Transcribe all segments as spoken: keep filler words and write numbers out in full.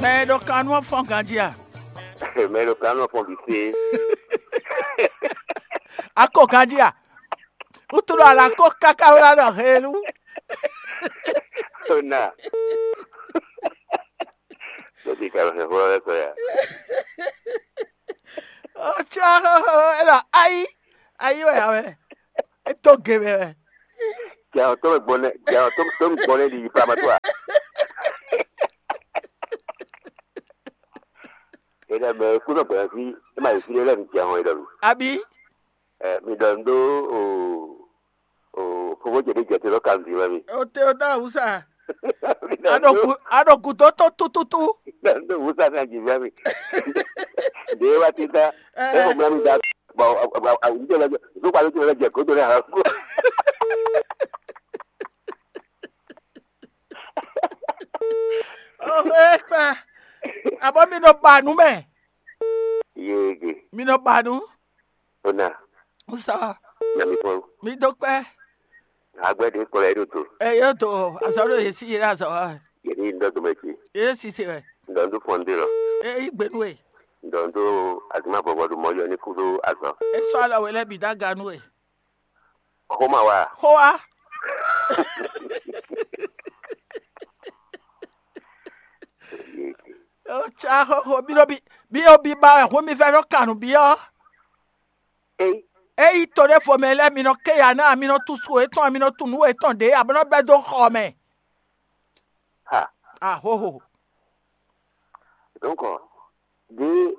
Mɛ e ɖo kan nú ɔ́ fɔ́n ganjí a? Mɛ e ɖo kan nú ɔ́ fɔ́n bǐ sé. A ko ganjí a? Wútu ɖɔ a nǎ ko káká wlá ɖɔ heelú. Ona. Lɛ́ ka lɔ hɛn xó lɛ́ kɔ ya. Ó cá xóxó é ɖɔ ayí, ayí wɛ ǎ wɛ. É tó ge mɛ wɛ. Jɛ ɔ tó gbɔn nɛ, jɛ ɔ tó tó gbɔn nɛ ɖi yi pama tó a. É ɖɔ mɛ kúnɔ gbɛn fí, é ma yi fí ɖé lɛ́ mi jɛ hɔn é ɖɔ mi. Abí? Ɛ mi ɖɔ nú ɖó o o fofó ce ɖé jɛ te ɖɔ kanvi wɛ mi. O te o ta awusa. Mi ɖɔ nú A ɖo gǔ a ɖo gǔdo tó tútútú. Mi ɖɔ nú ɖó wusa kan jǐ vɛ mi. Ɖě wá títá. Ɛ. É xɔ mlá mi da. Bɔ awusa lɛ zokpa ló ti lɛ jɛ kótó lɛ hàn. Oxo ekpa. Abɔ mi nɔ ba nú mɛ. Yéege. Mi nɔ ba nú. Ona. Sɔ. Na mi kpɔn. Mi dó kpɛ. Agbɛ́ ɖě kplɔ́ ɛ ɖo do. Ɛ yóò do azɔ ɖo yě sí yé ɖo azɔ wa. Yě ní dɔ dome cí. Yé sise wɛ. Ŋdɔ ŋdó fɔn ɖé lɔ. Ɛ yí gbenu e. Ŋdɔ ŋdó azuma bɔbɔ ɖo mɔ yɔ ní kú ɖó azɔ. É sɔ́ alɔ we lɛ́ bǐ dó aga nú we. Xoma wa. Xó wa. Ó cá xóxó bí nɔ bí bí ó bí ba wɛ hún mi fɛ́ nɔ kan nǔ byɔ́. Ei. Ényí to ɖěvo mɛ lɛ́ɛ mi nɔ ké ya ná mi nɔ tunwun su yětɔn mi nɔ tunwun nǔ yětɔn ɖě ǎ bó nɔ bɛ́ dó xɔ mɛ. Ha. Ahoho. Donc, ɖé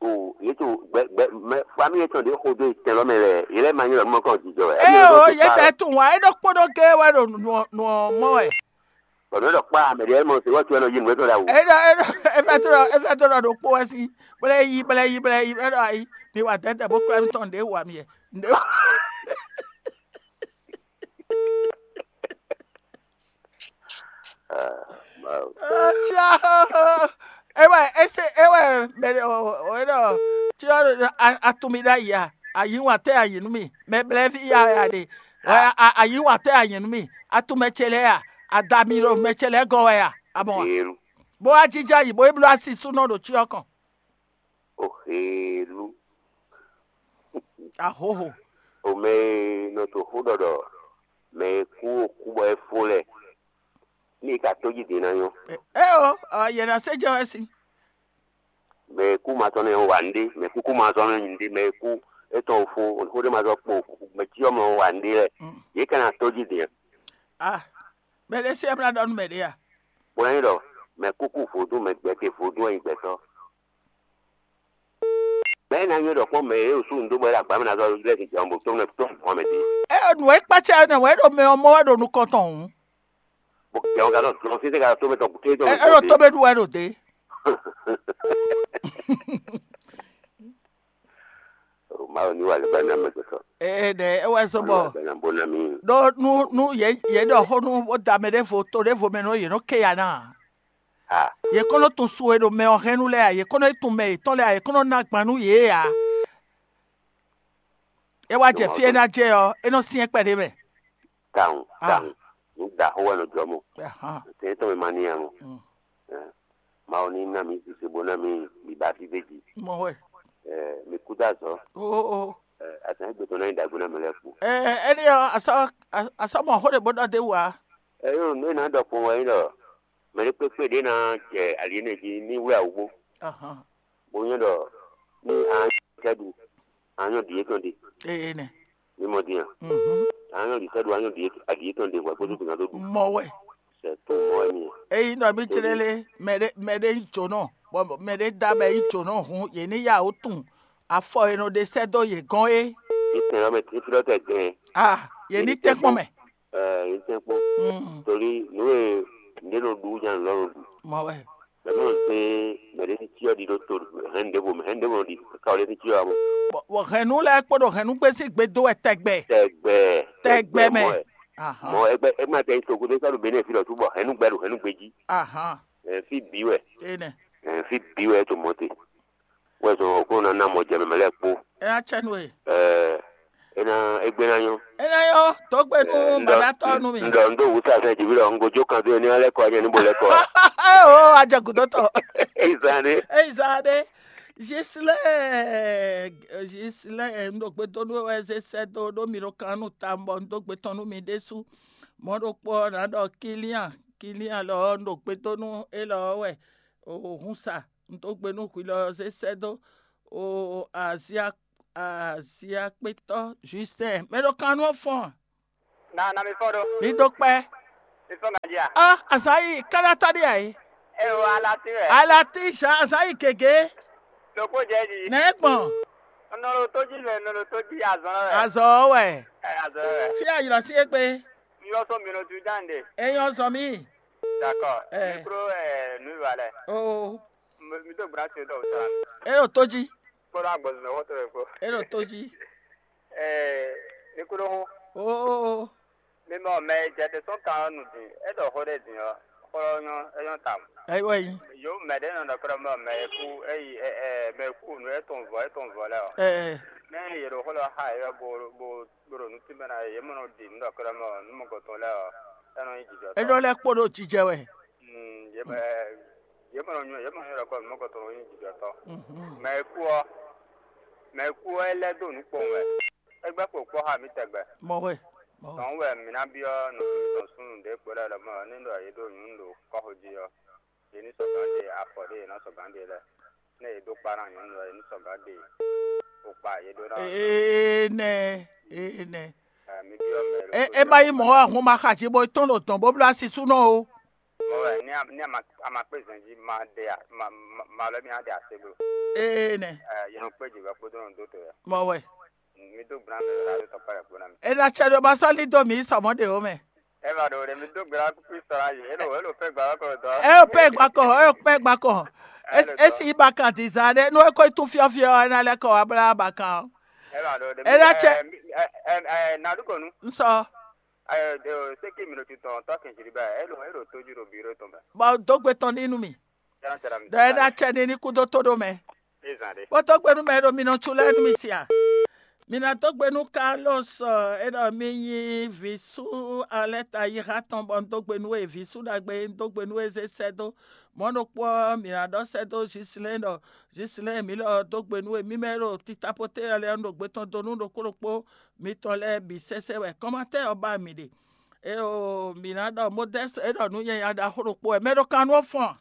o yě to gbɛ gbɛ mɛ famille yětɔn ɖě xo dó tɛn lɔ mɛ lɛ yě lɛ́ ma nyí lɔ nú mɔ kɔn jijɔ wɛ. Ée o yě tɛ tunwun ǎ é ɖokpó ɖó géé wɛ ɖo nǔ ɔ́ mɔ wɛ. Bɔn nǔ ɖɔ kpá mɛ ɖě mɔ se wɔtú ɛnɔ yi nǔ etɔn ɖa wò. É ɖɔ é ɖɔ é fɛ tó ɖɔ é fɛ tó ɖɔ ɖokpó wɛ sín bla yi bla yi bla yi é ɖɔ ayi mi wa dɛdɛ bó kplá mi tɔn ɖě wa mi yɛ. Tia ewɛ ese ewɛ mɛ o o e ɖɔ tia ɖo atumi ɖe ayi a ayi wa tɛ ayi nú mi mɛ blɛ fi ya wɛ a ɖe wɛ ayi wa tɛ ayi nú mi atumɛ ce lɛ ya ada mi ɖo mɛ ce lɛ gɔ wɛ ya a mɔ wa bó wá jija yi bó yi bló asi súnɔ ɖo tia kɔn. Oxelu. Ahoho. O mɛ e nɔ to xó ɖɔ ɖɔ mɛ e kú o kú bɔ é fó lɛ ní ka tójí din ná nyɔ́. Eo, yɛ ná se jɛ wɛ si. Mɛ e kú ma tɔn nɛ wa nɖé, mɛ kúkú ma tɔn nɛ nyi nɖé, mɛ e kú étɔn o fó, xó ɖé ma zɔ kpo, mɛ cyɔ mɛ wa nɖé lɛ, yě ka ná tójí din. Ah, mɛ ɖé se mla ɖɔ nú mɛ ɖé a? Bó ná nyí ɖɔ mɛ kúkú vodún, mɛ gbɛtɛ vodún wɛ nyí gbɛtɔ́. Mɛ ná nyí ɖɔ kpɔ́n mɛ e ɖo súnnu dó bɔ é ɖo agbǎ mɛ ná zɔ lɛ́ sin jɔ̌n bó tó nɔ tó hɔn mɛ din. É nǔ e kpácá nɛ wɛ é ɖo mɛ ɔ́ mɔ wɛ ɖo nukɔn tɔn hǔn. Bó jɛ ɔ́ ka nɔ dlɔn sísè ka tó mɛ tɔn kúté tɔn. É ɖo tó mɛ ɖu wɛ ɖo dě. Mawu ní wà lè ba ná mɛ gbɛtɔ. Ee ɖe é wɛ zɔ́n bɔ Bana bó ná mì. Ɖó nú nú yě yě ɖɔ xó nú bó da mɛ ɖěvo to ɖěvo mɛ nú yě nɔ ké ya ná. Ha. Yě kɔn nɔ tun su e ɖo mɛ ɔ́ hɛn nú lɛ́ɛ ǎ, yě kɔn nɔ yi tun mɛ yětɔn lɛ́ɛ ǎ, yě kɔn nɔ ná gban nú yě ǎ. É wá jɛ fí e ná jɛ ɔ́, é nɔ syɛ́n kpɛɖé mɛ. Tawun, tawun. Nǔ ɖaxó wɛ nɔ jɔ mɔ. Tɛn tɔn mɛ ma ní ya mɔ. Mawu ní ná mi sise bó ná mi mi ba fí fé jí. Mɔ wɛ. Mi kú dó azɔ. Oo. Azǎn gbé tɔn ná nyí ɖagbe ná mɛ lɛ́ɛ kpó. Ɛnɛ ɔ́, asɔ asɔ mɔ xó ɖé bó ɖɔ dé wú ǎ. Ɛyɔ nú é ná ɖɔ kpɔn wɛ nyí ɖɔ mɛ ɖé kpékpé ɖé ná jɛ ali énɛ́ jí ní wlé awǔ bó. Bó nyɔ́ ɖɔ ní a nyɔ́ sɛ́ ɖu a nyɔ́ ɖi yětɔn ɖe. Ee nɛ. Ní mɔ dín a. A nyɔ́ ɖi sɛ́ ɖu a nyɔ́ ɖi yětɔn ɖe hwɛ kpódó gbìngàn tó ɖu. Mɔ wɛ. Sɛ tó mɔ wɛ ní. Eyi nɔ mi tlɛ lé mɛ ɖé mɛ ɖé nyí jǒnɔ bɔ mɛ ɖé da mɛ nyí jǒnɔ hun yě ní yá wó tun afɔ e nɔ ɖe sɛ́ dó yě gɔ́n é. Ní tɛn ɔ́ mɛ tí fí lɔ́ tɛ gɛn. Ah, yě ní tɛ́nkpɔ́n mɛ. Ɛɛ yě tɛ́nkpɔ́n. Torí nǔ e nǔɖé nɔ ɖu nya nɔ ɖu. Mɔ wɛ. Mɛ mɔ se mɛ ɖé ní cyɔ ɖi ɖó to hɛn ɖěvo mɛ hɛn ɖěvo ɖi ka wɔ ɖé ní cyɔ amo. Bɔ hɛnnu lɛ́ɛ kpó ɖo hɛnnu gbé sín gbe dó wɛ tɛgbɛ. Tɛgbɛ. Tɛgbɛ mɛ. Mɔ wɛ. Mɔ ɛgbɛ ɛgbɛ tɛ to gúdo sɔ́ ɖo Benin fi lɔ túbɔ hɛnnu gbɛ ɖo hɛnnu gbé jí. Ahan. Ɛ fi bǐ wɛ. Enɛ. Ɛ fi bǐ wɛ to mɔ te. Wɛ zɔn ɔkplɔ́n ná ná mɔ jɛ mɛ mɛ lɛ́ɛ kpó. Ɛ ná cɛ nú e. Ɛ é ná égbé ná nyɔ́. É ná nyɔ́, dǒ gbe nú màɖátɔ́ nú mi. Ŋdɔ ŋdó wǔ sa sɛn jǐví ɖɔ un gojó kan dó e ní ɔ́ lɛ́ kɔ ɔ́ nyɛ ní bo lɛ́ kɔ ɔ́. Ó, Ajɛ gǔdo tɔn. Ezan ɖe. Ezan ɖe. Gislɛ, Gislɛ, un ɖo gbe dó nú we wɛ zé sɛ́ dó ɖó mi ɖo kan nú tawun bɔ un dó gbe tɔn nú mi ɖésú. Mɔ̌ ɖokpó ɔ́, nǎ ɖɔ Kilian, Kilian lɔ ɔ́, un ɖo gbe dó nú élɔ́ ɔ́ wɛ. O hun sa, un dó gbe nú hwi lɔ ɔ́ zé sɛ́ dó. O azia aziakpétɔ́ Justin, mɛ ɖo kan nú ɔ́ fɔ́n. Na na mi fɔ ɖo. Mi dó kpɛ́. Mi fɔ ganji a? Ah, azǎn yi káɖátá ɖé ǎ é. E o alati wɛ. Alati zǎn azǎn yi gěgé. Ɖokpó jɛ jí. Nɛ̌ gbɔn? Nɔlo tó jí lɛ nɔlo tó jí azɔn lɛ wɛ. Azɔn wɛ. Ɛ azɔn lɛ wɛ. Fí ayǐlɔ sí égbé. Mi lɔ sɔ mi nɔ ju dán de. Eyɔn zɔn mi. D'accord. Ɛ. Mi kúrò ɛ nu ìwà lɛ. Oo. Mi tó gbra ṣe dɔ sara. E ɖo tó jí. Kpɔɖɔ agbɔnzɔn xɔtɔ wɛ kpo. E ɖo tó jí. Ɛɛ, mi kúrò xó. Oo. Mi mɔ mɛ e jɛ te sɔn kan ɔ́ nu din, é ɖɔ xó ɖé din ɔ́, xó ɔ́ nyɔ́ é nyɔ́ tawun. Ayiwa yi. Yo mɛ ɖé nɔ ɖɔ kɔ ɖɔ mɔ mɛ e kú é yi ɛ ɛ mɛ e kú nu é tɔn vɔ é tɔn vɔ lɛ ɔ. Ɛɛ. Mɛ e yě ɖo xó lɔ xa é ɔ́ bo bo bo ɖo nǔ tínmɛ ná é, yě mɔ nɔ ɖi nǔ ɖɔ kɔ ɖɔ mɔ nǔ mɔgɔtɔn lɛ ɔ, é nɔ nyí jijɔ. É nɔ lɛ́ kpo ɖo jijɛ wɛ. Mm, yě mɔ ɛ yě mɔ nɔ nyɔ yě mɔ nɔ ɖɔ kɔ nǔ mɔgɔtɔn nɔ nyí jijɔ tɔ. Mhm. Mɛ e kú ɔ́, mɛ e kú ɔ́ é lɛ́ dó nǔ kpowun wɛ. É gbɛ́ kpo kpɔ́ xá mǐ tɛgbɛ. Mɔ̌ wɛ, mɔ̌ wɛ. Tɔ̌hún wɛ mǐ ná byɔ́ nɔví mitɔn súnnu ɖě kpo lɛ́ɛ lɔmɔ̌ ɔ́, ní ɖɔ yě ɖo nyǔ ɖo kɔ́xo jí ɔ́, yě ní sɔgǎn ɖe afɔ ɖě yě ná sɔgǎn ɖe lɛ́ɛ. Nɛ́ yě dó kpá ná nyɔ̌nu ɔ́, yě ní sɔgǎn ɖe kpokpa yě ɖó ná. Énɛ́, énɛ́. Ɛ, mǐ byɔ́ mɛ ɖokpó. É ma nyí mɔ̌ wɛ hun ma xa jí bó tɔ́n ɖo dɔ̌n bó bló así súnɔ o. Mɔ̌ wɛ ní a ní a ma a ma kpé zɛn jí ma ɖe a ma ma ma lɔ mì a ɖe ase bló. Énɛ́. Ɛ, yě nɔ kpé jǐ wɛ kpódó nɔ dó to wɛ. Mɔ̌ wɛ. Mi dó gbla mɛ ɖo radio tɔn kpá ɖe kpo ná mi. É ná cɛ ɖó ma sɔ́ lídó mǐ yi sɔ mɔ̌ ɖě ó mɛ. É ma ɖo ɖe mi dó gbla kúkú sɔ ná yi, é ɖo é ɖo fɛ́ gbla wá kɔ dɔn. É ɖo fɛ́ gbla kɔ, é ɖo fɛ́ gbla kɔ. É si yi bakan dizan ɖé, nú é ko yi tún fyɔ́fyɔ́ ɔ́, é ná lɛ́ kɔ wá blá bakan ɔ́. É ma ɖo ɖe É ná cɛ- ɛ ɛ ɛ Nadukɔnu. Un sɔ. Ɛ ɛ seki mi ɖo titɔn tɔ kɛnjiri bɛ, é ɖo é ɖo tójú ɖo biro tɔn bɛ. Bɔ dó gbe tɔn ní nú mi. Yàrá tẹ̀lé mi. Ɖɔ é ná cɛ ní ní kúdó tó ɖó mɛ. Ezan ɖe. Kpótó gbénú mɛ e ɖo mi nɔ tsu lɛ́ɛ nú mi sia. Mi ná dó gbe nú Carlos, ɛ, e ɖɔ mi nyi vǐ sú Alɛta yixa tɔn bɔ un dó gbe nú we, vǐ sú ɖagbe un dó gbe nú we zé sɛ́ dó. Mɔ̌ ɖokpó ɔ́, mǐ ná ɖɔ sɛ́ dó Zislɛ́n ɖɔ Zislɛ́n mǐ lɔ dó gbe nú we. Mí mɛ e ɖo titapoté ɔ́ lɛ́ɛ un ɖo gbe tɔn dó nú ɖokpó ɖokpó mitɔn lɛ́ɛ bǐ sɛsɛ wɛ. Kɔ́mátɛ́ ɔ́ ba mǐ ɖe. Eo, mǐ ná ɖɔ Modɛ́st e ɖɔ nǔ nyanya ɖaxó ɖokpó wɛ. Mɛ ɖo kan nú ɔ́ fɔ́n a?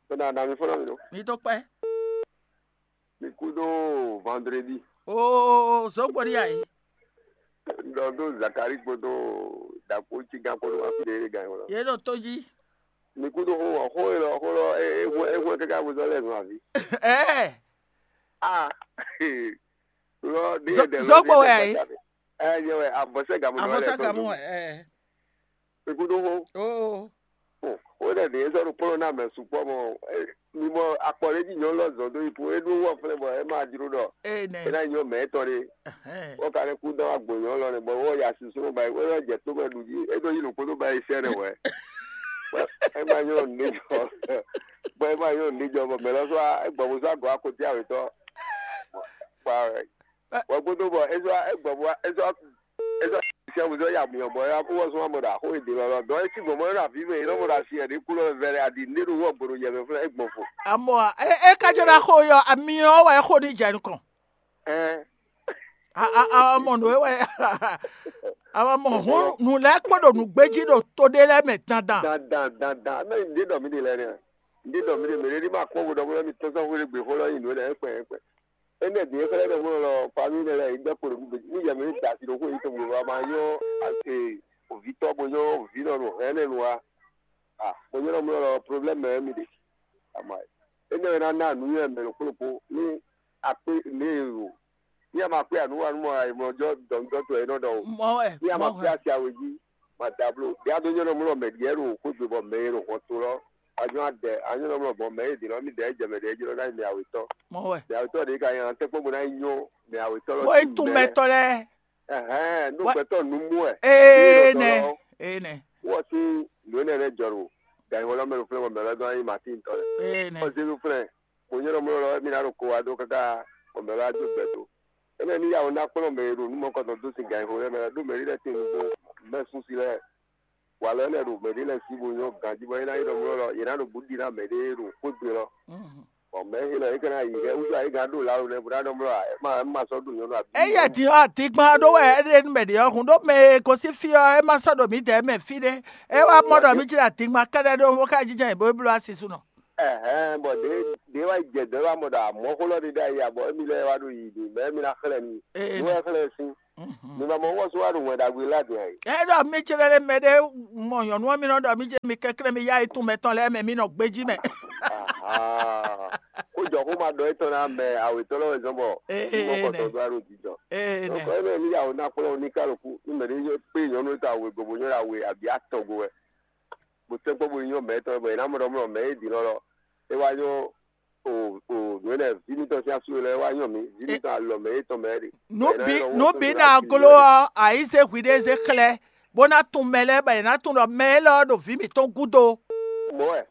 Bena na mi fɔlɔ mi ɖo. Mi dó kpɛ́. Mi kú ɖó vendredi. Oo, zɔ̌gbɔ́ ɖi ayǐ. Ɖɔ ɖó Zakari kpódó ɖakpó cígán kpódó wá fi ɖé gán wlɔ. Yě ɖo tó jí. Mi kú ɖó xó wɔ xó e lɔ xó lɔ é é hwɛ é hwɛ káká bó zɔ lɛ zɔn àbí. Ɛɛ. Ah. Lɔ ɖé Zɔ- ɖe lɔ zɔ́gbó ɖé wɛ ɖe ayé. Gbadza ɖe. Ɛ nyɛ wɛ avɔsɛ gamu nɔ lɛ Avɔsa tɔn gamu do. Ɛ. Ekuɖo xó. Oo. Ó ɖe ɖě sɔ́ ɖo kplɔ́n ná mɛ sukpɔ́ mɔ mi mɔ akpɔ ɖé jí nyɔ̌nu lɔ zɔn dó yi po é ɖó wɔ flɛ́ bɔ é ma jló ɖɔ Ee nɛ. É ná nyɔ mɛ étɔn ɖé. Ɛhɛn. Wɔ ka ɖe kú dán agbo nyɔ̌nu lɔ nɛ bɔ wɔ ya susu nɔ ba yi wɔ jɛ tó mɛ ɖu jí é ɖó yi nǔkpó dó ba yi sɛ nɛ wɛ. É ma nyɔ nǔ jɔ bɔ é ma nyɔ nǔ jɔ bɔ mɛ lɔ sɔ é gbɔ bó sɔ agɔ akotí awetɔ. Kpa wɛ. Wɔ gbódó bɔ é sɔ é gbɔ bó é sɔ é sɔ siamu sɔ ya muyɔ bɔ ya kó wɔ sɔn amɔ ɖo axó e ɖe lɔlɔ dɔn é cí gbɔn mɔ ɖo avi mɛ é nɔ mɔ ɖo asi ɛɖí kú lɔ vɛ ɖe aɖi nɖé ɖo wɔ gbɔdɔ yɛ mɛ flɛ é gbɔn fo. Amɔ é é ká jɔ ná xo yɔ ami ɔ́ wɛ é xo ní jɛ nukɔn. Ɛɛ. A a a mɔ nǔ é wɛ a ma mɔ hún nǔ lɛ́ɛ kpɔ́ ɖo nǔgbéjí ɖo to ɖé lɛ́ɛ mɛ dandan. Dandan dandan mɛ ɖé ɖɔ mí ɖe lɛ nɛ ɖé ɖɔ mí ɖe mɛ ɖé ní ma kpɔ́n vo ɖɔ bó lɛ mi tɔ́n sɔ́ xwé ɖé gbě xó lɔ nyi nǔ é lɛ é kpɛn é kpɛn. Énɛ́ din e xlɛ́ ɖɔ mɔ lɔ famille nɛ lɛ yi gbɛ́ kpo ɖo nǔ gbé ní yɛ mɛ ní da asi ɖo xó yi tɔn bó ma nyɔ ase òvítɔ́ bó nyɔ òvínɔ ɖo hɛ̌nnu wa. Ah, bó nyɔ nɔ mlɔ lɔ problème mɛ mi ɖe. Ama énɛ́ wɛ ná ná nǔnywɛ́ mɛ ɖokpó ɖokpó ní akpé ní e ɖo ní ama kpé anúwanú mɔ ayimlɔjɔ dɔnudɔtɔ e nɔ ɖɔ o. Mɔ wɛ. Ní ama kpé asi awe jí ma da bló. Ɖé adó nyɔ nɔ mlɔ mɛ ɖiɛ ɖo xógbe bɔ mɛ e ɖo hɔn to lɔ. Anyɔ adɛ anyɔ nɔ mlɔ bɔ mɛ e ɖi nɔ mi ɖɛ jɛ mɛ ɖɛ jlɔ ná yi mɛ awetɔ. Mɔ wɛ. Mɛ awetɔ ɖe ka nya tɛkpɔ bo ná yi nyɔ mɛ awetɔ lɔ. Bó yi tún mɛtɔ lɛ. Ɛhɛn, nú gbɛtɔ nu mú wɛ. Ee nɛ. Ee nɛ. Wɔ sí nǔ énɛ́ lɛ́ɛ jɔ ɖo gǎnyíwɔ lɔ mɛ ɖo flɛ́ bɔ mɛ lɔ dɔn anyi Matín tɔn lɛ. Ee nɛ. Ɔ Jezu flɛ́, kò nyɔ́ ɖɔ mlɔ́ lɔ émí ná ɖo ko wá dó káká bɔ mɛ lɔ á jó gbɛ dó. Énɛ́ ní yawó ná kplɔ́n mɛ e ɖo nǔ mɔkɔtɔn dó sin gǎnyíxó lɛ́ɛ mɛ lɛ́ɛ ɖó mɛ ɖé lɛ́ɛ tín nǔgbó mɛ súnsi lɛ́ɛ. walɔ lɛ́ɛ ɖo mɛɖé lɛ́ɛ sí bo nyɔ́ ganjí bɔ é ná nyí ɖɔ mlɔ́ lɔ, yě ná ɖo bǔ ɖi ná mɛɖé ɖo xwé gbe lɔ. Bɔ mɛ élɔ́ é ka ná yi hɛ wútu ayǐ gán ɖo la ɖo nɛ́ bó ná ɖɔ mlɔ́ ǎ, é má é má sɔ́ ɖo nyɔ́nu abǐ. Eya din ɔ́, adigban ɖó wɛ é ɖe nú mɛ ɖě ɔ́ hun ɖó mɛ e gosín fí ɔ́, é má sɔ́ ɖo mǐdɛɛ mɛ fí ɖé. É wá mɔ ɖɔ mǐ jlá adigban kɛ́ɖɛ́ ɖó bó ká jínjɔ́n yě bó bló asisúnɔ. Ɛhɛn, bɔ ɖě ɖě wá yi jɛ dɔ̌ wá mɔ ɖɔ amɔ̌ xó lɔ ɖé ɖ'ayǐ ǎ, bɔ émí lɛ́ɛ wá ɖo yiyi ɖi mɛ̌ émí ná xlɛ́ mi? Ee. Nú wɛ xlɛ́ sín. Mi ma mɔ wɔ só wá ɖo wɛn ɖagbe lɛ́ɛ din ǎ é? É ɖɔ mí jlɛ́ ɖé mɛ ɖé mɔ nyɔ̌nu ɔ́, mi nɔ ɖɔ mí jɛ mi kɛnklɛ́n mi yá yi tún mɛtɔn lɛ́ɛ mɛ, mi nɔ gbéjí mɛ. Xó jɔ xó ma ɖɔ étɔn ná mɛ awětɔ́ lɛ́ɛ wɛ zɔ́n bɔ Ee, mɔ kɔtɔn dó wá ɖo jijɔ. Ee, nɛ. Nɔkɔ énɛ́ ní yàwó ná kplɔ́n ní ká lɔkú ní mɛ ɖé nyɔ́ kpé nyɔ̌nu e ka wěgbɔn bó nyɔ́ ɖo awe abǐ atɔn go wɛ, bó tɛ́nkpɔ́n bó nyɔ́ mɛ̌ tɔn wɛ, bɔ è nǎ mɔ ɖɔ mlɔ mɛ̌ e ɖi lɔ́lɔ́ é wá nyɔ́ o o nǔ énɛ́ ví mítɔn sín asú e lɛ́ɛ wá nyɔ́ mǐ, ví mítɔn alɔ mɛ étɔn mɛ é ɖe. Nǔ bǐ nǔ bǐ ná gló ɔ́, àyízé hwiɖée zé xlɛ́, bó ná tunwun mɛ lɛ́ɛ bɔ yě ná tunwun ɖɔ mɛ élɔ́ ɖo vǐ mǐtɔn gúdo. Mɔ̌ wɛ,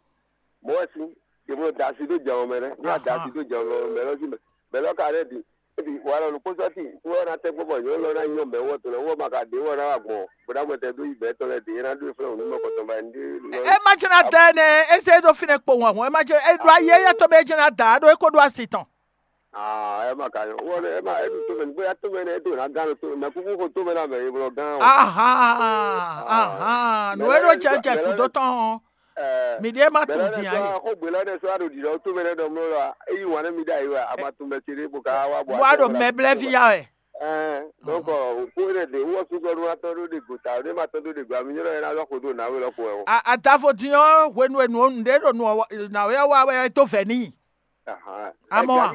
mɔ̌ wɛ sín, è bló da asi dó jɛ ɔ́ mɛ nɛ́, ní a da asi dó jɛ ɔ́ mɛ lɔ sí mɛ, mɛ lɔ ka lɛ́ ɖi. Ebi wala ɖokpó sɔ́ ti wɔ ná tɛ́ kpɔ́ bɔ nyɔ̌nu lɔ ná nyɔ́ mɛ wɔ tɔn lɛ́ɛ wɔ ma ka ɖě wɔ ná wa gbɔn bó ná mɔ tɛ dó yi bɛ̌ tɔn lɛ́ɛ ɖě é ná ɖó e flɛ́ wǔ nú mɛ kɔtɔn ba ní ɖé. É má jẹ́ ná dɛ nɛ, é zé ɖó fínɛ́ kpowun ahun, é má jẹ́ é ɖó ayé éyɛ́ tɔn bɛ é jẹ́ ná da ɖó é kó ɖó asi tɔn. Aa ɛ má ka nyɔ wɔ nɛ ɛ má ɛ ɖu tó mɛ ní bóyá tó mɛ nɛ é ɖo ná gán tó mɛ kúkú xo tó mɛ ná mɛ é blɔ gán o. Ahan ahan, nǔ e ɖó jɛ jɛ kúdó tɔn ɔ́, mi ɖíe má tunwun din ǎ é. Xó gbě lɛ́ɛ ɖe sɔ́ aɖo ɖiɖɔ tó mɛ lɛ́ɛ ɖɔ mló lɔ é yí wǎn nú mi ɖ'ayǐ wɛ a ma tunwun mɛ ce ɖé bó ka wá bɔ. Bó a ɖo mɛ blɛ́ ví ya wɛ. Ɛɛ donc òkú énɛ́ ɖě wɔ súsɔ ɖó atɔ́ ɖó ɖe gota ɖé ma tɔ́ ɖó ɖe gba mi nyɔ́ ɛ ná lɔ xo ɖó nǎwe lɔ xo wɛ o. Adavo din ɔ́ hwenu e nǔ nǔɖé ɖo nǔ ɔ́ nǎwe ɔ́ wa wɛ é dó vɛ̌ n'i. Amɔ wa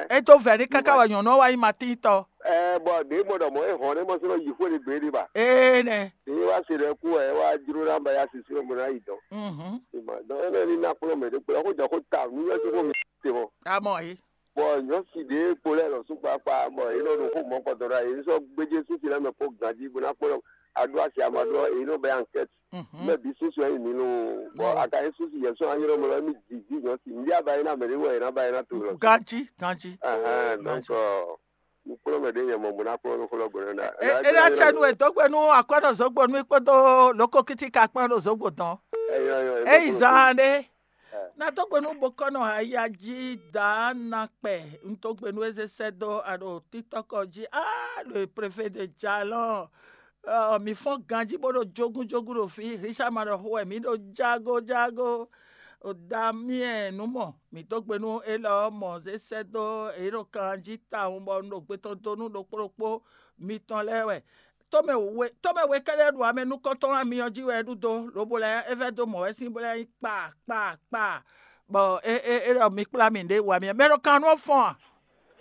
é dó vɛ̌ n'i káká wɛ nyɔ̌nu ɔ́ wá nyí matíntɔ. Ɛɛ bɔ ɖě mɔ ɖɔ mɔ é hɔn ɖé mɔ sínú yi xwé ɖé gbé ɖé ba. Ee nɛ. Ní wá se ɖɛ kú ɛ wá jró ná ba ya sisi mɔ ná yi dɔn. Mhm. Dɔn énɛ́ ní ná kplɔ́n mɛ ɖé kplɔ́n xó jɔ xó ta nú yɔ sí xó mi te mɔ. Amɔ yi. Bɔ nyɔ̌si ɖě kpo lɛ́ɛ lɔ sú kpakpa bɔ yě nɔ ɖo xó mɔ̌kɔtɔn ɖo ayǐ sɔ́ gbéjé sísi lɛ́ɛ mɛ kpó ganjí bó ná kpɔ́ aɖó asi amaɖó ɔ́, yě nɔ bɛ ankɛ́t. Mɛ bǐ súsu ɛ nyi mǐ lo bɔ a ka nyí súsu yɛ sɔ́ anyɔ́ mɛ lɔ émí jǐ jí nyɔ̌si mǐ ɖíe a ba nyí ná mɛ ɖé wɛ è nǎ ba nyí ná to lɔ. Ganjí ganjí. Ɛhɛn donc mi kplɔ́n mɛ ɖě nyɛ mɔ bó ná kplɔ́n nú xó lɔ gɔ̌ nɛ́ ɖa. É ná cɛ nú wědógbenu akwɛ́nɔ zǒgbonu kpódó lǒkokítíka kpán ɖo zǒgbo dɔn. É yi zaan ɖé. Na dó gbe nú bokɔ́nɔ aya jí dǎ na kpɛ un dó gbe nú é zé sɛ́ dó aɖo títɔ́kɔ jí á ɖo e préfé de jalɔn. Mi fɔ́n ganjí bó ɖo jógúnjógún ɖo fí, Richard ma ɖɔ xó wɛ mǐ ɖo jágójágó. O Damien nú mɔ mǐ dó gbe nú élɔ́ mɔ zé sɛ́ dó é ɖo kan jí tawun bɔ un ɖo gbe tɔn dó nú ɖokpó ɖokpó mitɔn lɛ́ɛ wɛ. Tɔ́mɛ we tɔ́mɛ we kɛ́ɖɛ́ ɖo amɛ nukɔntɔn wá mi ɔ́ jí wɛ é ɖu dó, lobo lɛ́ɛ é vɛ́ dó mɔ̌ wɛ sín bó lɛ́ nyí kpa kpa kpa, bɔ é é é ɖɔ mi kplá mì ɖě wa mi mɛ ɖo kan nú ɔ́ fɔ́n a?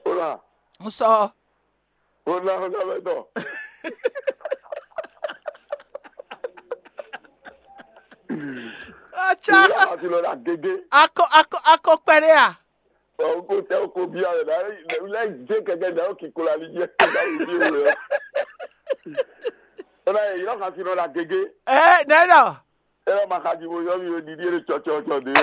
Ó là. Un sɔ. Ó ná ó ná mɛ tɔ. Atsá. Ìyá àti lọ la gégé. Akɔ akɔ akɔ kpɛɖé a? Ɔ ko tɛ ko bia wɛ la la je kɛkɛ da o kiko la li jɛ la o bi wɛ. Ona ye yɔrɔ ka fi nɔ la gege. Ɛ nɛ nɔ. Ɛ ma ka ji mo yɔ mi o didi e tsɔtsɔtsɔ de o.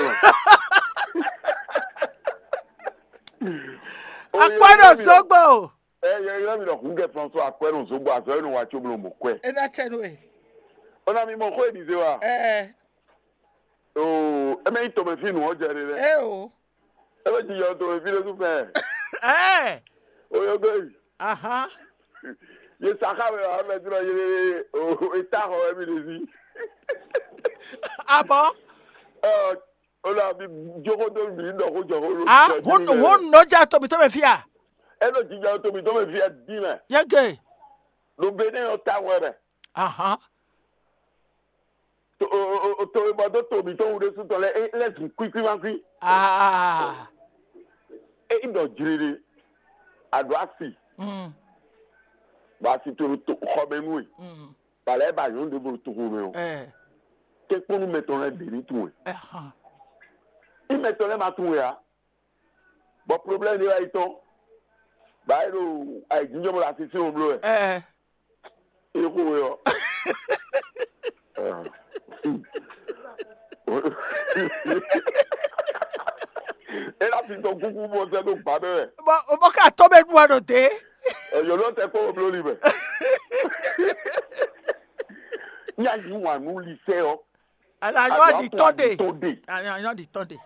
Akpɛ ɖo zogbo. Ɛ yɛ yɔ mi lɔ kun kɛ François akpɛ ɖo zogbo azɔ yɛ no wa tso blo mo kwɛ. E na tsɛ no e. Ona mi mɔ ko e di se wa. Ɛ. Oo, eme yi tɔmɛ fi nu ɔjɛ de lɛ. Ɛ o. Ebe ti yɔ tɔmɛ fi ɖe su fɛ. Ɛ. Oyogo yi. Aha. Ye saka wɛ wa mɛ dúró ye o eta xɔ wɛ mi ɖe si. Abɔ. Ɔ o la bi jogo do mi dɔ ko jɔ ko. Ah, hun hun nɔ ja tɔmɛ tɔmɛ fia. E nɔ jija tɔmɛ tɔmɛ fia di mɛ. Yege. Lo be ne yɔ ta wɛ mɛ. Aha. To o o o to e bɔ do to mi to wu ɖe su tɔ lɛ e lɛ zu kwi kwi ma kwi. Ah. E yi dɔ jiri de. A do asi. Mm. Ba si to to xɔ mɛ nu e. Mm. Ba lɛ ba yɔn de bo to xɔ mɛ o. Eh. Te kpɔnu mɛ tɔn lɛ de ni tun e. Eh. I mɛ tɔn lɛ ma tun e a. Bɔ problème ɖé wá yi tɔn. Ba e ɖo ayijijɔ mɔ le asi sin o blo wɛ. Ɛɛ. Ixo we ɔ. E la fi tɔn kuku bɔ sɛ do gba bɛ wɛ. Bɔ o bɔ ka tɔ bɛ ɖu wa ɖo te. Ɛyɔ lɔ tɛ kpɔ o blo li bɛ. Yá yí wǎn nú lisɛ ɔ́. Alanyɔ ɖi tɔn ɖe. Tɔn ɖe. Alanyɔ ɖi tɔn ɖe.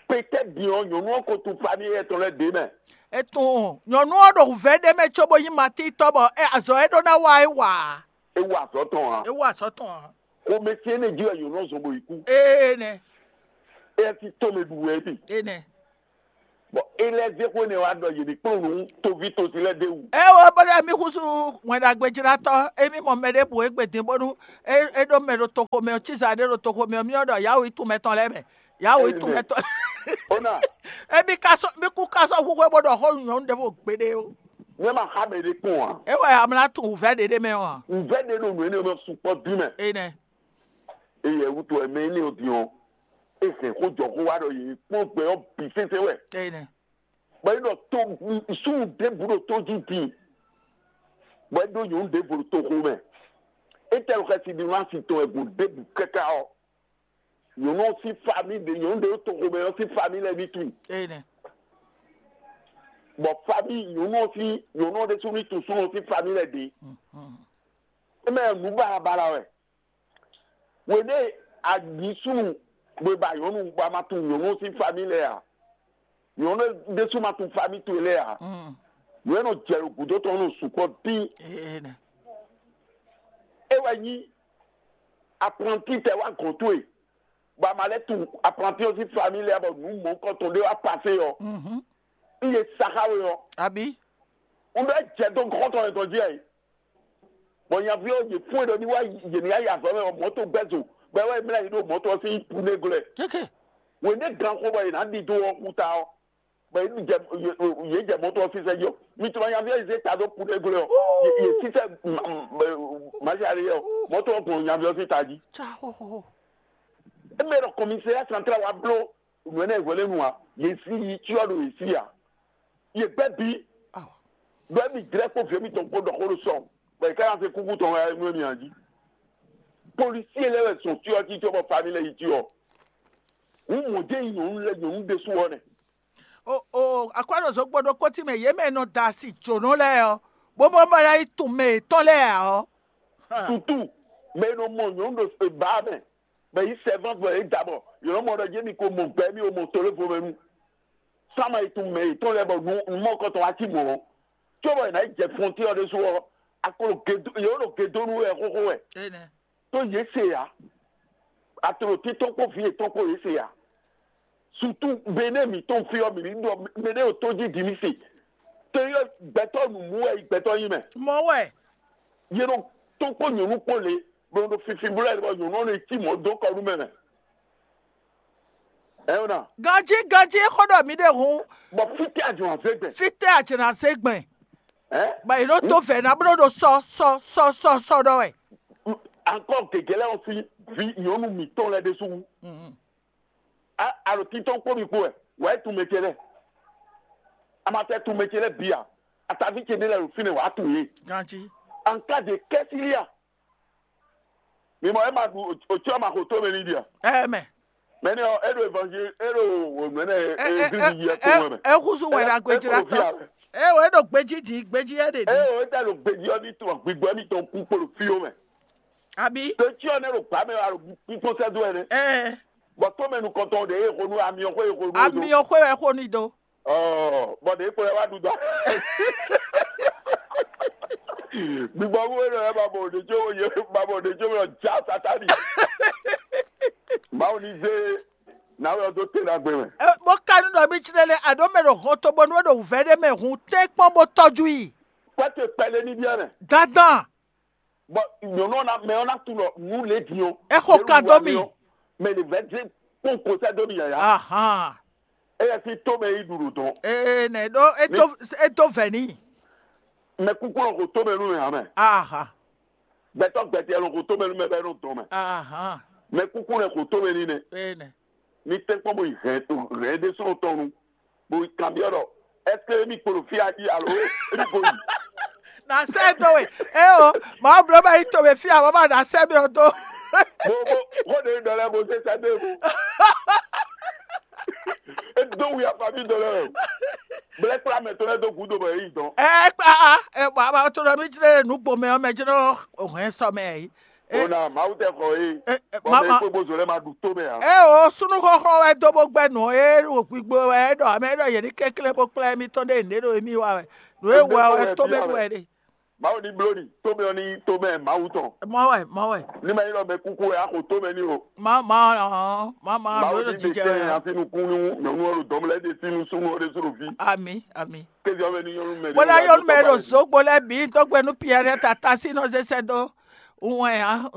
Pétɛ́ din ɔ́, nyɔ̌nu ɔ́ ko tún famille étɔn lɛ́ɛ ɖě mɛ. Etun nyɔ̌nu ɔ́ ɖo wǔvɛ́ ɖé mɛ cóbó nyí matítɔ́ bɔ é azɔ̌ e ɖó ná wa é wa. É wa azɔ̌ tɔn ǎ. É wa azɔ̌ tɔn ǎ. Xomɛ ce énɛ́ jí wɛ nyɔ̌nu ɔ́ zɔn bó yi kú. Ee nɛ. Éyɛ́ sín tɔ́n mɛ ɖu wɛ é ɖe. Enɛ. Bɔ é lɛ́ zé xó énɛ́ wá ɖɔ yě ní kplɔ́n nǔ toví tosi lɛ́ɛ ɖ'é wú. É wo bó ɖɔ mì húzú wɛn ɖagbe jlátɔ́, émí mɔ mɛ ɖěbǔ égbé din bónú é é ɖó mɛ ɖo toxo mɛ ɔ́, cíza ɖé ɖo toxo mɛ ɔ́, mì ɔ́ ɖɔ yǎwǔ yi tún mɛtɔn lɛ́ɛ mɛ. Yǎwǔ yi tún mɛtɔn lɛ́ɛ. Ó ná. Émí ka sɔ́ mì kú ka sɔ́ húhwɛ bó ɖɔ xó nyɔ̌nu ɖěvo gbeɖé ó. Nyɛ ma xa mɛ ɖé kpɔn ǎ. É wɛ amlá tún wǔvɛ́ ɖě ɖé mɛ ɔ́ ǎ. Wǔvɛ́ ɖě ɖo nǔ énɛ́ mɛ sukpɔ́ dín mɛ. Enɛ. Eyɛ wútu wɛ mɛ énɛ́ ɔ́ din ɔ́, é hɛn xó jɔ xó wá ɖɔ yě kpɔ́n gbɛ ɔ́ bǐ sésé wɛ. Enɛ. Bɔ é ɖɔ tó súnnu ɖěbǔ ɖo tó jí din, bɔ é ɖó nyɔ̌nu ɖěvo ɖo toxo mɛ. Étɛ́ xɛsi ɖi nú asi tɔn wɛ gǔ ɖěbǔ káká ɔ́, nyɔ̌nu ɔ́ sín famí ɖě nyɔ̌nu ɖě ɖo toxo mɛ ɔ́ sín famí lɛ́ɛ ní tunwun. Enɛ. Bɔ famí nyɔ̌nu ɔ́ sín nyɔ̌nu ɔ́ ɖésú ní tunwun súnnu ɔ́ sín famí lɛ́ɛ ɖě. Émɛ nǔ baɖabaɖa wɛ. Wěɖée a nyǐ súnnu bó ba nyɔ̌nu bɔ a ma tunwun nyɔ̌nu sín famí lɛ́ɛ ǎ. Nyɔ̌nu ɖésú ma tunwun famí towe lɛ́ɛ ǎ. Nǔ e nɔ jɛ ɖo gǔdo tɔn nɔ sukpɔ́ dín. É wɛ nyí apranti tɛ wá gɔ̌n towe, bɔ a ma lɛ́ tunwun apranti ɔ́ sín famí lɛ́ɛ bɔ nǔ mɔ̌hunkɔtɔn ɖé wá pasé ɔ́, un ye sa xá we ɔ́. Abǐ? Un ɖɔ é jɛ dó gɔ̌n tɔn wɛ tɔn jí ɛ. Bɔ nyaví ɔ́, yě fún e ɖɔ ní wá yě ní yá yi azɔ̌ mɛ ɔ́, mɔ̌to gbɛ́ zo, bɔ é wá yi mlá yi ɖo mɔ̌to ɔ́ sín pune glɔ́. Kéké. Wěnde gan xo bɔ yě ná ɖidó ɔ́ xú ta ɔ́, bɔ yě jɛ yě jɛ mɔ̌to ɔ́ sísɛ́ jí ɔ́, mi tunwun nyaví ɔ́ yi zé ta dó pune glɔ́ ɔ́, yě sísɛ́ mazali ɔ́, mɔ̌to ɔ́ gbɔn nyaví ɔ́ sín ta jí. Émɛ ɖɔ kɔmisɛ́yá santrál wá bló nǔ énɛ́ hwɛ̌ lɛ́ɛ nu ǎ, yě sí yi cyɔ ɖo yě sí ǎ. Yě gbɛ́ bí, ɖɔ émí jlɛ́ kpó vǐ émítɔn kpó ɖɔ xó ɖo sɔ, bɔ yě ká ná se kúkú tɔn wɛ nú émí ǎ jí. Polísie lɛ́ɛ wɛ zɔn cyɔ jí cóbɔ famí lɛ́ɛ yi cyɔ. Hǔn mɔ̌ jɛ́n nyí nyɔ̌nu lɛ́ɛ nyɔ̌nu ɖésú ɔ́ nɛ. O o akwɛ́ɖɔzɔ́gbó ɖokpó tí mɛ yě mɛ nɔ da asi jǒnɔ lɛ́ɛ ɔ́, bó mɔ bɔ ná yi tunwun mɛ yětɔn lɛ́ɛ ǎ ɔ́. Tutu mɛ e nɔ mɔ nyɔ̌nu ɖo bǎ mɛ, mɛ yi sɛvɔ́ vɔ é da bɔ yě nɔ mɔ ɖɔ jɛ́n mi ko mɔ gbɛ mì o mɔ tolévo mɛ nu. Sama yi tunwun mɛ yětɔn lɛ́ɛ bɔ nu mɔkɔtɔn wá cí mɔ̌. Cóbɔ è nǎ yi jɛ fɔntín ɔ́ ɖésú ɔ́, a ko ɖo gedo yě ɖo gedonu wɛ xóxó wɛ. Tó yě se ǎ. Atlǒtín tɔn kpó vǐ yětɔn kpó yě se ǎ. Sutu Benɛ́ɛ mǐtɔn fí ɔ́, mǐ ní ɖɔ mɛɖé ɖo tó jí din ní se. Tó yɔ gbɛtɔ́ nǔmú wɛ gbɛtɔ́ nyí mɛ. Mɔ̌ wɛ. Yě ɖo tó kpó nyɔ̌nu kpó lě, bɔ ɖo fifi bló ɛ bɔ nyɔ̌nu ɔ́ nɔ cí mɔ̌ dó kɔ nú mɛ mɛ. Ɛ yɔ́ ná. Ganjí ganjí xó ɖɔ mǐ ɖe hǔn. Bɔ fítɛ́ a jɔn azé gbɛn. Fítɛ́ a jɛ̌ ná zé gbɛn. Ɛ? Bɔ è nɔ tó vɛ̌ ná bló ɖo sɔ sɔ sɔ sɔ sɔ ɖɔ wɛ. Ankɔ gěgé lɛ́ɛ ɔ́ sín vǐ nyɔ̌nu mǐtɔn lɛ́ɛ ɖésú wú. A a ɖo títɔn kpó mi kpó wɛ, wǎ yi tunmɛ ce lɛ́ɛ. A ma tɛ tunmɛ ce lɛ́ɛ bǐ ǎ. Ataví ce ɖé lɛ́ɛ ɖo fínɛ́ wǎ tunwun yě. Ganjí. Anka de kɛ́sílíà. Mi mɔ ema ɖu otsɔ ma xo to mɛ ni dia. Ɛmɛ. Mɛni ɔ eɖo evanzeli eɖo wòmɛnɛ eglisi yi ɛtɔn wɛ mɛ. Ehuzu wɛ na gbedzi la tɔ. Eye wòe ɖo gbedzi di gbedzi yɛ ɖe di. Eye wòe ta ɖo gbedzi ɔ ní tɔ gbigbɔ mi tɔn kú kpolo fi o mɛ. Abi. Ɖo tsi ɔ ne ɖo gba mɛ alo kpíkpɔn sɛ do ɛnɛ. Ɛɛ. Bɔ to mɛ nukɔntɔn ɖe eye xonu ami ɔ xo eye xonu. Ami ɔ xo ɛ xo ni do. Ɔ bɔ ɖe kplɔ wá ɖu dɔ. Gbigbɔ wú eno ɛ ba bɔ ɖe tso ye ba bɔ ɖe tso mɛ ja satani. Mawu ni zé na wɛ do te na gbe mɛ. Bó ka nú ɖɔ mí tsi lɛ aɖó mɛ ɖo hɔn to bɔnu ɖo vɛ ɖé mɛ hun tɛ́ kpɔn bó tɔjú yi. Kpɛtɛ kpɛlɛ ní bia mɛ. Dandan. Bɔ nyɔnu ɔna mɛ ɔna tu lɔ nu le diɔ. Exo ka dó mi. Mɛ de vɛ dze kpɔn kosɛ dó mi yaya. Ahan. Eya si to mɛ yi ɖuɖu dɔn. Ee nɛ ɖo eto eto vɛ ni. Mɛ kúkú lɔ ko to mɛ nu mɛ hã mɛ. Ahan. Gbɛtɔ gbɛtɛ lɔ ko to mɛ nu mɛ bɛ nɔ dɔn mɛ. Ahan. Mɛ kúkú lɛ ko to mɛ ni nɛ. Ee nɛ. Ní tɛ́nkpɔ́n bó yi hɛn hɛn ɖésúnɔ tɔn nu, bó yi kanbyɔ́ ɖɔ: "Ɛseke émí kpo ɖo fí a jí alo émí ko yi?" Na sɛ do we. Eo, ma blɔ ba yi to we fia, ma ba na sɛ mi o do. Bo bo xo ɖe ɖɔ lɛ bo se sɛ de bo. E do wi afa mi ɖɔ lɛ o. Blɛ́ kplá mɛ tɔn lɛ́ɛ dó gǔdo bɔ yě yi dɔn. Ɛ kpá a, ɛ bɔ a ma to ɖɔ mí jlé nǔgbó mɛ ɔ́ mɛ jlé hɛn sɔ mɛ yí. Ó ná Mawu tɛ xɔ é. Ɛ, ɛ, Bɔ mɛ mama. Kpé bó zo lɛ́ɛ ma ɖu tó mɛ ǎ. Ɛ o súnú xɔxɔ wɛ dó bó gbɛ́ nǔ e ɖo gbigbo wɛ é ɖɔ amɛ é ɖɔ yě ní kɛnklɛ́n bó kplá émítɔn ɖé nǔɖé ɖo émí wa wɛ. Nǔ e wɛ wɛ tó mɛ ɖu wɛ ɖe. Mawu ní bló ɖi tó mɛ ɔ́ ní tó mɛ Mawu tɔn. Mɔ wɛ, mɔ wɛ. Ní ma nyí ɖɔ mɛ kúkú wɛ axo tó mɛ ní o. Ma ma ɔn, ma ma Mawu nǔ e ɖo ní ɖe jijɛ kɛn wɛ. Asi nukún nú nyɔ̌nu ɔ́ ɖo dɔ̌n lɛ́ɛ ɖe sín nú súnnu ɔ́ ɖésú ɖo fí. Ami, ami. Kézi ɔ́ mɛ ní nyɔ́nu mɛ. Bó ná yɔ́nú mɛ ɖo zǒgbo lɛ́ɛ bǐ dó gbe nú Piyɛ́ɛ tata sín nɔ zé sɛ́ dó wɛn ǎ.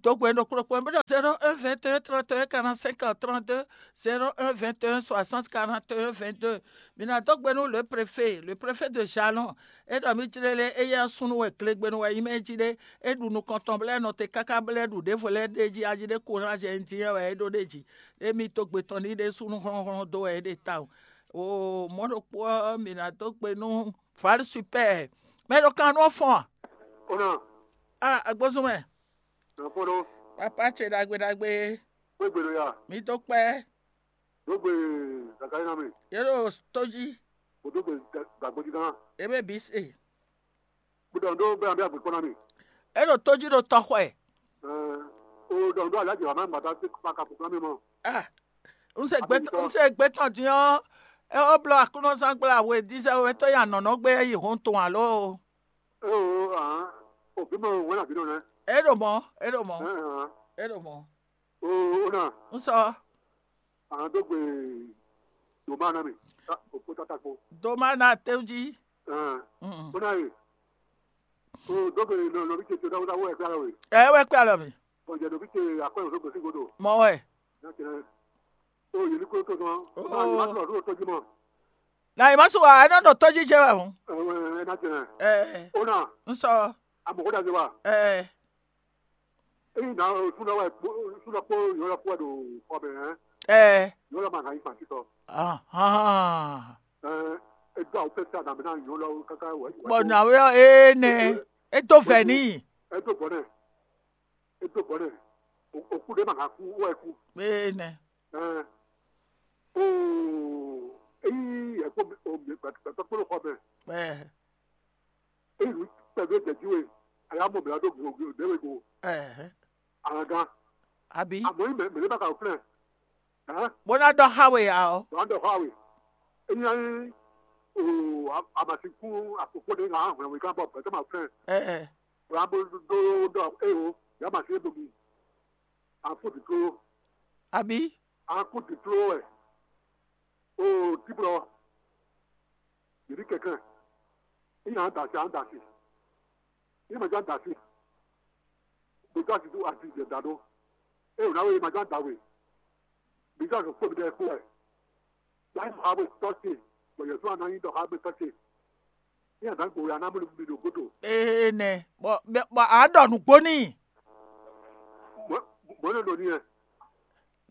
Dó gbe nú kplɔ́kplɔ́ mɛ ɖɔ zéro un vingt et un trente et un quarante-cinq trente-deux, zéro un vingt et un soixante quarante et un vingt-deux. Mi ná dó gbe nú le préfet, le préfet de Jalon. É ɖɔ mí jlé lé éyɛ́ ɔ́ súnnu wɛ glegbenu wɛ nyí mɛ jí ɖé. É ɖu nukɔn tɔn bɔ é nɔ te káká bɔ é ɖu ɖěvo lɛ́ɛ ɖ'é jí ají ɖé kúnrájɛ nyi dín wɛ é ɖó ɖ'é jí. Émí dó gbe tɔn ní ɖé súnnu hlɔ́nhlɔ́n dó wɛ é ɖe tawun. Oo, mɔ̌ ɖokpó ɔ́, mǐ ná dó gbe nú Vǎli Supɛ́ɛ. Mɛ ɖo kan nú ɔ́ fɔ́n a? Ó nɔ, Ah, agbózún mɛ. Nɔ fɔ́n ɖó. Papá ce ɖagbe ɖagbe. Xwé gbe ɖo ya. Mǐ dó kpɛ́. Dó gbe Zakalina mɛ. Yě ɖo tó jí. Bó dó gbe Gagbojí gán. Ebe bǐ se. Bó ɖɔ ɖó bɛ́ abí agbèkpɔ́ ná mì. É ɖo tó jí ɖo tɔxɔɛ. Ɛɛ, o ɖɔ ɖó alájɛ wà má gbàdá sí kpaka fúnfún mi mɔ. Ah, n se gbé Agbẹnusọ. N se gbé tɔn dín ɔ́. É ó bló aklúnɔzán gbla we dízɛ we tó ya nɔ̌nɔ́ gbé yi hɔn tɔn alo. É o hàn, òbí mɔ wɛn àbí nɔ nɛ. É ɖo mɔ, é ɖo mɔ, Ɛɛ hàn. É ɖo mɔ. O o nà. N sɔ. Àwọn tó gbé dòmá náà mi, òpó tata kpo. Doma na tew jí. Ẹn, Mm. Ó náà yè. O tó gbé nọ nọ bí tètè dáwó dáwó ẹgbẹ́ àlọ́ wè. Ẹ wẹ́ kpé alɔ mi. Ọ̀jẹ̀ nọ bí tè àkọ́ ìwòsàn gbèsè gbòdò. Mọ wẹ. Náà tẹ̀lé. O yè ní kúrò tó tán. Ó. Náà yè má sọ̀rọ̀ tó tọ́jú mọ́. Na yi ma su wa, ẹ nɔ nɔ tɔjí jẹ wɛ o. Ẹ̀wọ̀n ẹ̀ náà tẹ̀lé. Ẹ Ó náà, n sọ. Àmọ̀kó dàgbé wa. Ẹ Eyi na sunɔ wɛ sunɔ kpó yɔlɔ kpó wɛ ɖo xɔ mɛ hɛn. Ẹ Yɔlɔ ma ka yi fan titɔ. Ahan. Ɛ edo awo pɛ sa na mɛ na yɔlɔ kaka wɛ. Bɔ na wɛ ɔ ee nɛ. E to vɛ ni. Edo bɔ nɛ. Edo bɔ nɛ. Oku ɖe ma ka ku wɛ ku. Ee nɛ. Ɛ o eyi yɛ kpó o mi gbɛtɔ kpó xɔ mɛ. Ɛ Eyi nu kpɛdó jɛ jí we. Aya mɔ mɛ do go go de we go. Ɛ Agan. Abi. Amɔ yi mɛ mɛ ne ba ka flɛ. Hã? Bó ná dɔ xa we ya ɔ. Wà á dɔ xa we. Eyi na yi o amasinkun akpokpo de ŋa hwɛ we kan bɔ bɛtɛ ma flɛ. Ɛ Wà á bo do dɔ e o ya ma se do mi. Afo di tlo. Abi. Akú dǐdló wɛ. Oo tíblɔ, yě ní kɛnklɛ́n. Ní nyan da asi, an da asi. Ní ma ján da asi. Gbèdó asi dó asi jɛ da ɖó. Ée wǒ ná wé ma ján da we. Gbèdó asi kpó mi ɖɛ kpó wɛ. Láì mɔ ha we tɔ́ ce, bɔ yɛ̌ fún aná nyí ɖɔ ha we tɔ́ ce. Ní àdá gbòòrò aná mú mi ɖo gúdo. Ee nɛ, bɔ bɔ a ɖɔ nǔgbó n'i. Mɔ̌ nɔ ɖo n'i wɛ.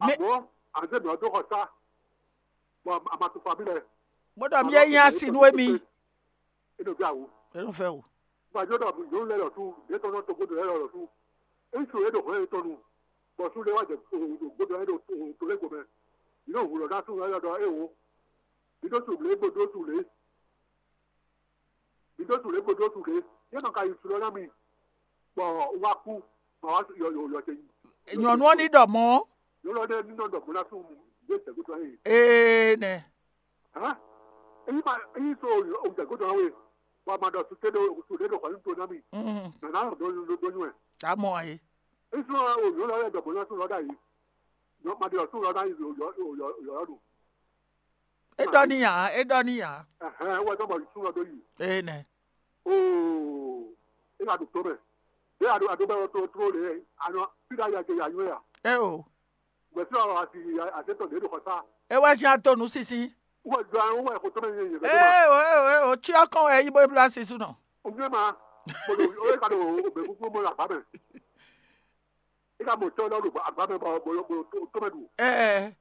Àmọ́ àzé mǐ ɔ́ dó xɔ sá, bɔ a ma tunwun fabí lɛ́ɛ. Bó ɖɔ mí é nyí asi nú émí. É nɔ bí àwǔ. É nɔ fɛ o. Gbàjọ́ ɖɔ nyɔ̌nu lɛ́ɛ lɔ sú, ɖě tɔn nɔ togbódò lɛ́ɛ lɔ sú. Ŋutsu e ɖo hɔ̌n yětɔn nu, bɔ sú lé wá jɛ ɖo gbódò ɛ ɖo to lɛ́ɛ gomɛ. Mǐ nɔ hu lɔ ná sú lɛ́ɛ ɖɔ éwo. Mǐ ɖó su lě, bó dó su lě. Mǐ ɖó su lě, bó dó su lě. Yě nɔ ka yi su lɔ ná mi, bɔ un wá kú, bɔ wá yɔ yɔ yɔ tɛ nyi. Nyɔ̌nu ɔ́ ní ɖɔ mɔ̌. Nyɔ̌nu ɔ́ ní nɔ ɖɔ mɔ̌ ná sú ɖé tɛ̌gútɔ yìí. Ee nɛ. Hã? Eyi ma eyi so o tɛ̌gútɔ we, bɔ a ma ɖɔ su tɛ ɖo su ɖé ɖo xɔ nyi to ná mi. Mm. Nana ɖo ɖo ɖo nyuɛ. Amɔ ayi. Eyi so o nyɔ̌nu ɔ́ yɛ ɖɔ mɔ̌ ná sú lɔ ɖ'ayǐ. Nyɔ ma ɖe ɔ́ sú lɔ ná yi yɔ yɔ yɔ yɔ ɖo. E ɖɔ n'i ǎ, e ɖɔ n'i ǎ. Ɛhɛn, wɛ dɔ bɔ súnɔ dó yi. Ee nɛ. Oo, e ka ɖo to mɛ. Ɖé a ɖo a ɖo bɛ to to le, a nɔ fi ɖe ya je ya nyɔ ya. E o. Gbɛ fi ɔ asi asi tɔ ɖe ɖo xɔ sa. E wɛ zi ato nu sisi. Wɛ jɔ an wɛ xɔ tɔmɛ yɛ yɛ. E o e o e o tsi ɔkɔn wɛ yi bo ebla sisu nɔ. O nyɛ ma. Mo ɖo o e ka ɖo o bɛ kúkú mo la ba mɛ. E ka mɔ tɔ lɔ ɖo agba mɛ bɔ bo bo to mɛ ɖu. Ɛ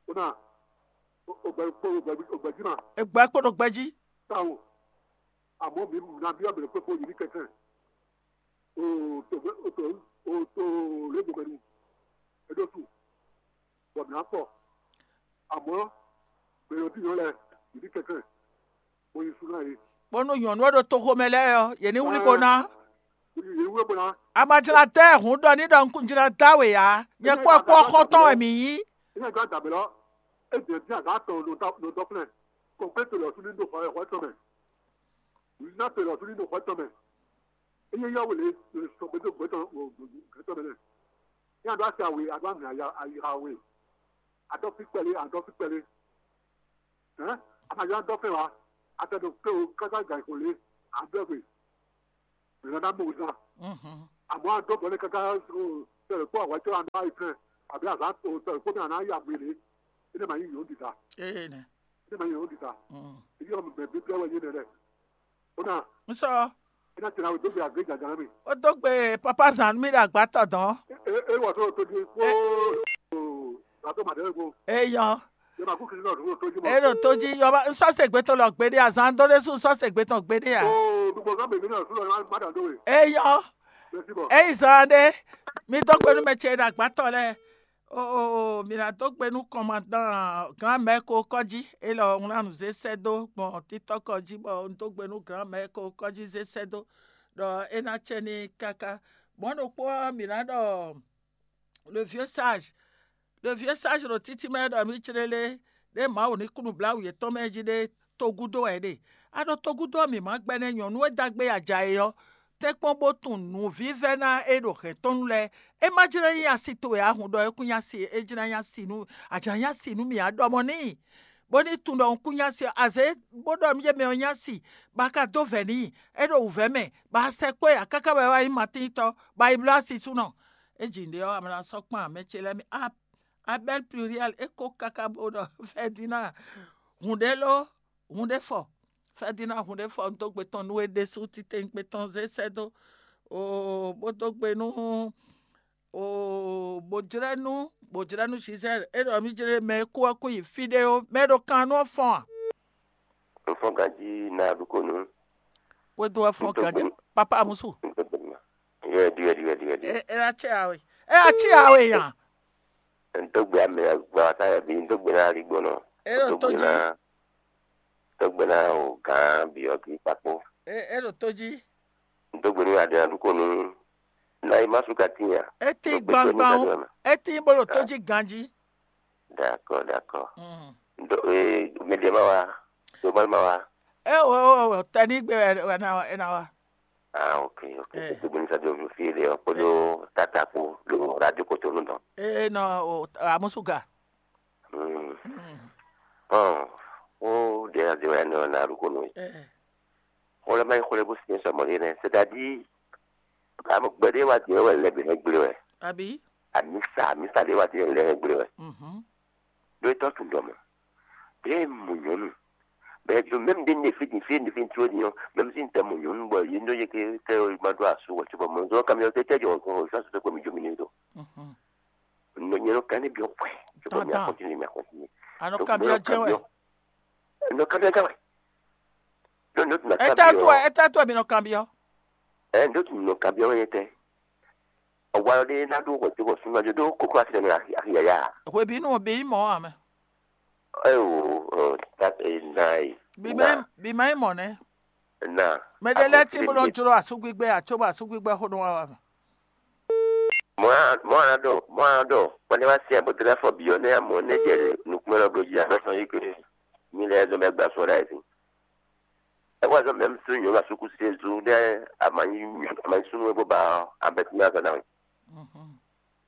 Ó ná, ó gbɛ kpó ó gbɛ jí ma. Egbɛ kpó ɖo gbɛ jí. Táwo, àmọ́ mi ná bí ọ̀bẹ̀rẹ̀ pé kó yìí ní kẹ̀kẹ́. O tó o tó o tó lébo pẹ̀lú. Eɖó su. Bọ̀ mí ná pọ̀. Àmọ́ bẹ̀rẹ̀ òbí yàn lẹ yìí ní kẹ̀kẹ́. Bó nyí súnú ɛ. Bónú nyɔ̌nu e ɖo toxo mɛ lɛ́ɛ ɔ́, yě ní wlí bo ná. Yě wú bó ná. A ma jlá dá ɛ hǔn ɖɔ ní ɖɔ un jlá dá we ǎ. Nyɛ kpó ɛ kpó xɔ́ntɔn wɛ mǐ nyí. Ní ɛ gán dǎbɛ lɔ, é dě dín azǎn atɔn nɔ dɔ́kúnɛ. Kɔ̀nklé to lɔ sú ní ɖo xɔ xɔ tɔn mɛ. Ná to lɔ sú ní ɖo xɔ tɔn mɛ. É nyɛ yá wele sɔ gbɛtɔ gbɛtɔ gbɛtɔ mɛ lɛ. Ní adó asi awe, adó ami ayiha we. Adó fi kpɛlɛ, adó fi kpɛlɛ. Hɛn, ama yá dó fɛn wa. Atɛ ɖo kpé o, káká gǎn xo lé, adó gbe. Mǐ nɔ ná mɔ zan. Àmọ́ adó bɔ ní káká sɛlɛ kpó awǎ cɔ àná yi fɛn. Àbí azǎn to sɛlɛ kpó mɛ àná yi agbe lé. É nɛ ma nyí yǒ ɖiɖa. Ee nɛ. É nɛ ma nyí yǒ ɖiɖa. Ibi ɔ́ mɛ bí blɛ́ wɛ nyí nɛ lɛ. Ó nà. N sɔ. É ná tɛ̀lé àwọn ìdógbè àgbéjà jàrá mi. Ó dó gbe papa zan mi ɖo agbátɔ dɔn. É wɔ tó tó di kó. Gbàtó màdé kó. Eyɔn. Yẹ ma kú kiri náà tó tó di mọ. E ɖo tó jí yɔba n sɔ se gbé tó lɔ gbé ɖé azan dó ɖé sú sɔ se gbé tɔn gbé ɖé a. Ó dùgbò sá bèbí náà súnlọ má dà dó we. Eyɔn. Bẹ́sí bọ̀. Eyi zan ɖé. Mi dó gbe nú mɛ ce ɖo agbátɔ lɛ. Oo, mǐ ná dó gbe nú kɔnmadan gǎn mɛ̌ ko kɔ́jí, élɔ́ un ná nǔ zé sɛ́ dó gbɔn títɔ́kɔ jí bɔ un dó gbe nú gǎn mɛ̌ ko kɔ́jí zé sɛ́ dó, ɖɔ é ná cɛ ní káká. Mɔ̌ ɖokpó ɔ́, mǐ ná ɖɔ le vieux sage, le vieux sage ɖo títí mɛ ɖɔ mǐ clélé ɖé Mawu ní kú nǔbláwǔ yětɔn mɛ jí ɖé togúdo wɛ é ɖe. A ɖo togúdo ɔ́ mǐ má gbɛ́ nɛ́ nyɔ̌nu e dó agbe yi aja é ɔ́, tɛ́nkpɔ́n bó tunwun nǔvívɛ́ná e ɖo hɛ̌n tɔn nu lɛ́ɛ. É má jlɛ́ nyí asi towe ǎ, hun ɖɔ é kún nyí asi, é jlɛ́ nyí asi nú, a jlɛ́ nyí asi nú mì ǎ, ɖɔ mɔ̌ n'i, bó ní tunwun ɖɔ un kún nyí asi ɔ́, azě bó ɖɔ nú yě mɛ ɔ́ nyí asi, bɔ a ka dó vɛ̌ n'i, é ɖo wǔvɛ́ mɛ, bɔ a sɛkpɔ́ ɛ ǎ káká bɔ é wá nyí Matín tɔ́, bɔ a yi bló asi súnɔ. É ji nǔɖé ɔ́, a ma ná sɔ́ kpan mɛ ce lɛ́ɛ mɛ. A Abɛ́l Pluriɛ́l é kó káká bó ɖɔ Fɛdina, hun ɖé ló, hun ɖé fɔ. Fɛdina hun ɖé fɔ un dó gbe tɔn nú we ɖésú titewungbe tɔn zé sɛ́ dó. Oo, bó dó gbe nú, oo, bó jlɛ́ nú, bó jlɛ́ nú Gisɛ́l é ɖɔ mí jlɛ́ mɛ e kú ɔ́ kún yi fí ɖé ó, mɛ e ɖo kan nú ɔ́ fɔ́n a? Un fɔ́n ganjí ná ɖu kó nú. Wé dó wɛ fɔ́n ganjí, papa amusu. Yɛ ɖiwɛ ɖiwɛ ɖiwɛ ɖiwɛ. É é ná cɛ awe. É ná cɛ awe yan. Ntɔgbe ame agba ta yɛ bi ntɔgbe na ali gbɔnɔ. É ɖo tó jí. Ntɔgbe na o gan bi ɔ kí kpakpo. É é ɖo tó jí. Ntɔgbe nu adé na ɖu kó nu. Na yi ma su ka tinya. É tí gbangban o. É tí bó ɖo tó jí ganjí. D'accord, d'accord. Ndo ee mede ma wa. Domal ma wa. É o o o tɛní gbé wɛ wɛ na wɛ na wa. Ah, ok, ok. Ntɔgbe nu sa do fi de o kpodo tata kpo do radio kotonu dɔn. É nɔ o amusuga. Hmm. Ɔn, o ɖe na de wɛ nɔ na ɖu ko nɔ. Xɔlɛ ma yi xɔlɛ bó sin sɔmɔ ɖe nɛ, c'est-à-dire gbɛɖe wa din wɛ lɛ bi hɛn gble wɛ. Àbí? Amisa amisa ɖe wa din lɛ hɛn gble wɛ. Ɖo etɔ tun dɔ mɔ. Bɛ mu nyɔnu. Bɛ jo même de ne fi din fi ne fi tro din. Même si n tɛ mu nyɔnu bɔ yi ndo ye ke tɛ o ma do asu wɔ tso bɔ mo zo kamion tɛ tɛ jɔ ko sa so ko mi jo mi ne do. Nɔ nyɛ nɔ kan ne bi o kwɛ. Tɔ mi a continuer mi a continuer. Anɔ kamion jɛ wɛ. Nɔ kamion jɛ wɛ. Nɔ nɔ tun na kamion. Eta to eta to mi nɔ kamion. Ɛ ndo tun nɔ kamion yɛ tɛ. Ɔwalɔ ɖe ná ɖó hwɛ̌ dó hwɛ̌ súnnu ná jó ɖó kókó asi ɖe mɛ axi axi yaya. Hwebǐnu ɔ́, bǐ nyí mɔ̌ ǎ mɛ. Ɛ o ɔ ta ɛ na yi. Bǐ má nyí bǐ má nyí mɔ̌ nɛ́. Na. Mɛ ɖé lɛ́ɛ tí bó nɔ jló asúgbígbɛ ǎ, cóbɔ asúgbígbɛ xó nɔ wá wá mɛ. Mɔ̌ a mɔ̌ a ɖɔ mɔ̌ a ɖɔ kpɔ́n wá sí abɔ̌ dó fɔ bǐ ɔ́ nɛ́ amɔ̌ nɛ́ jɛ nukúnmɛ lɔ bló jí aɖɔ́ sɔn yí ké mi lɛ́ɛ zɔn bɛ gba sɔ ɖ'ayǐ sín. É wá zɔ́n mɛ sú nyɔ̌nu asúkúsi e zú ɖé amanyí amanyí súnnu e bó ba abɛtúmɛ azɔn ná wɛ.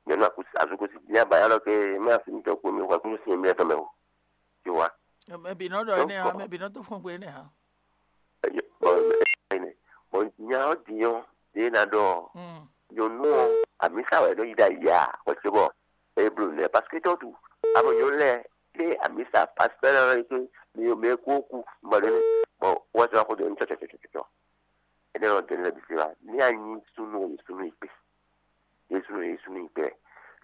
Nyɔ̌nu asúkúsi ní aba yá lɔ ké mɛ asú mitɔn kpó mi wá kúnú sin mi ɛtɔn mɛ o. Ti wá. Mɛ bǐ nɔ ɖɔ énɛ́ ǎ, mɛ bǐ nɔ dó fɔ́n gbe énɛ́ ǎ. Bɔn nya ɔ́ din ɔ́ ɖé ná ɖɔ nyɔ̌nu ɔ́ amǐsa wɛ nɔ yi ɖ'ayǐ ǎ, xwɛsebɔ é bló nɛ parce que tɔ́ tu amɔ nyɔ̌nu lɛ́ɛ ɖé amǐsa parce que lɛ́ɛ lɔ yi ké mi mɛ kú ó kú bɔ ɖé bɔ wá sɔ́ xó dó ní tsɔtsɔtsɔtsɔ. Énɛ́ ɔ́ dɛ́ lɛ́ɛ bǐ sí wá ní a nyí súnnu ɔ́ súnnu yi kpé. Yésu nɔ Yésu ní gbɛ.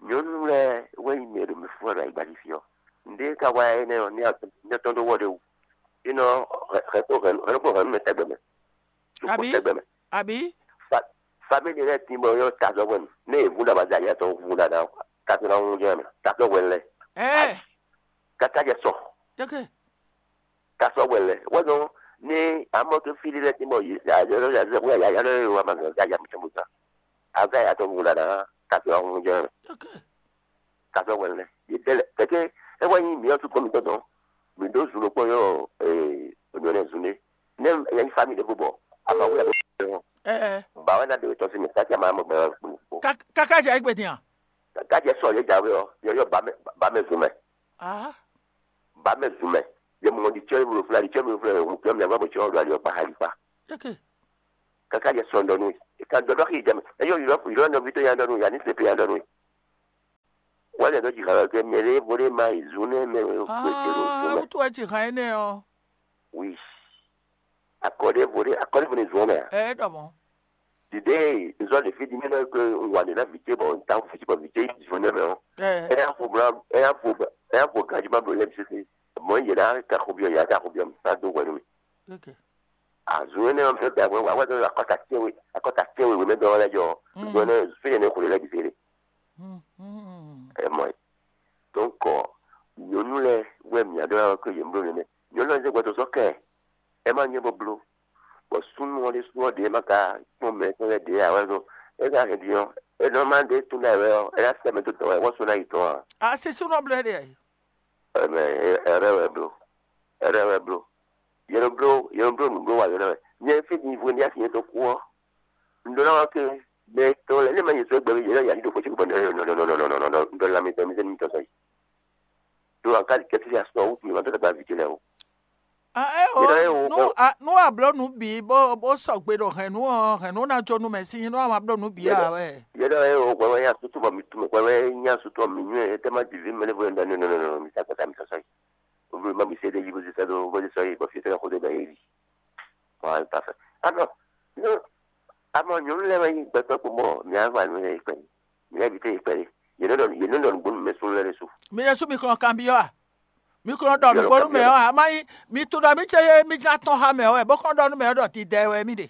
Nyɔ̌nu lɛ́ɛ wɛ nyí mɛ e ɖo mi fún wɛ ɖo ayigbá jí fí ɔ́. Nǔɖé ka wá énɛ́ ɔ́ ní atɔ́ ɖó wɔ ɖé wú. Énɛ́ ɔ́ hɛ̌ kó hɛ̌ kó hɛ̌ nú mɛ tɛgbɛ mɛ. Sukú tɛgbɛ mɛ. Àbí? Famíli lɛ́ɛ tín bɔ yɔ tazɔ́ hwɛ̌nu. Nɛ yě vú ɖo abaza yɛ tɔn vú ɖaɖa ɔ́, tazɔ́ ná wú jɛ mɛ. Tazɔ́ hwɛ̌nu lɛ́ɛ. Káká jɛ sɔ. Tazɔ́ hwɛ̌nu lɛ́ɛ. Wɛ nɔ ní Amɔ ke fí ɖé lɛ́ɛ tín bɔ yě yǎyá lɔ yǎyá lɔ yǎyá lɔ yě wá ma zɔn yǎyá mi tɔn bó zán. Azá yǎ tɔn bó la ná kafí ɔ́ hún jɛ Ok. kafí ɔ́ wɛlɛ. Yě dɛ lɛ kɛkɛ é wá nyí mǐ ɔ́ tún kɔn mitɔn tɔn. Mǐ ɖó zun ɖokpó yɔ ee ònyɔ nɛ zun ɖé. Nɛ ɛ nyí fami ɖé bó bɔ ama wú yà bó bɔ Ɛɛ. ba wɛ ná ɖe tɔn sí mi kájí ama mɔ gbɛ kpo. Kaka jɛ egbe din a? Kájí sɔ yɛ jáwé ɔ yɔ yɔ ba mɛ ba mɛ zun mɛ. Ah. Ba mɛ zun mɛ. Yɛ mɔ di tsɔ wúlò fúlá di tsɔ wúlò fúlá wò kí ɔmì àgbà bò tsɔ wúlò ali ɔkpa hali kpa. Ok. Kaka yɛ sɔ ndɔnu. Ka dɔdɔ xi jɛmɛ. Eyɔ yɔ yɔ nɔ vi to ya ndɔnu ya ni se pe ya ndɔnu. Wale dɔ dzi xalɔ ke mɛ ɖe bo ɖe ma yi zun ne mɛ. Ah, wutu wɛ tsi hàn énɛ́ ɔ. Oui. Akɔɖe bo ɖe akɔɖe bo ne zun mɛ. Ɛ ɖɔ mɔ. Dide nzɔ ɖe fi di mi ɖɔ ke ŋwa ɖe na vi ce bɔ ŋta ŋu fi ci bɔ vi ce yi zun ne mɛ ɔ. Ɛ. Eya fo bla eya fo eya fo gaji ma blo lɛ sese. Mɔ yɛ na ka ko biɔ ya ka ko biɔ mi sa do wɛ nu mi. Ok. Azun ne ɔn fɛ da wɛ wa wɛ akɔta tiɛ we akɔta tiɛ we wɛ mɛ dɔ wɛ lɛ jɔ. Zun ne fi ne ko le lɛ bi se de. Hmm, hmm. Ɛ mɔ yi. Donc nyɔnu lɛ wɛ mia dɔ wɛ ko yɛ blo nɛnɛ. Nyɔnu lɛ zɛ gbɛtɔ sɔ kɛ. Ɛ ma nyɛ bɔ blo. Bɔ sunu ɔ de sunu ɔ de ma ka kpɔn mɛ kpɔn lɛ de awɛ zɔn. E ka hɛn di ɔ. E nɔ ma de tun da wɛ ɔ. E na sɛ mɛ to dɔ wɛ wɔ so na yi tɔn a. A si sunɔ blɛ ɖe ayi. Ɛmɛ ɛrɛ wɛ blo. Ɛrɛ wɛ blo. Yɛn blo yɛn blo nǔ blo wa yɔn wɛ. Nyɛ fi di vo ni asi nyɛ to ku ɔ. N ɖó ná wá ke mɛ tɔn lɛ ne ma nyɛ sɔ gbɛ mi yɛn ya ni do ko tsi bɔ nɔ nɔ nɔ nɔ nɔ nɔ nɔ nɔ nɔ nɔ nɔ mi tɛ mi tɛ mi tɔ sɔ yi. Do an ka di kɛ ti ya sɔ wutu mi ma tɔ ta gba vi ti lɛ o. Ah, ɛ Yɛn ɖɔ ye o o- nu a nu a blɔ nu bi bó bó sɔgbe ɖo hɛn nu ɔ hɛn nu na jo nu mɛ si nu a ma blɔ nu bi a wɛ. Yɛn ɖɔ ye o gbɛ wɛ ya sutu bɔ mi tu mɛ gbɛ wɛ nya sutu mi nyɛ tɛ ma di vi mɛ ne vo yɛn da nɔ nɔ nɔ nɔ mi sa gbɛ ta mi tɔ sɔ yi. O bi ma mi se de yi bo si sa do bo si sɔ yi bɔ fi tɛ ko de ba yi. Bon, parfait. Alors, non, amɔ nyɔnu lɛ wɛ nyi gbɛtɔ kpo mɔ mia va nu yɛ ikpɛ ni mia bi te ikpɛ ni yɛ nɔ dɔn yɛ nɔ dɔn gbonu mɛ sunu lɛ de su. Mi ɖe su mi kplɔn kan bi ɔ a? Mi kplɔn ɖɔ nugbo nu mɛ ɔ a? Ma yi mi tu ɖɔ mi ce ye mi jla tɔn ha mɛ ɔ wɛ bó kplɔn ɖɔ nu mɛ ɔ ɖɔ ti dɛ wɛ mi ɖe.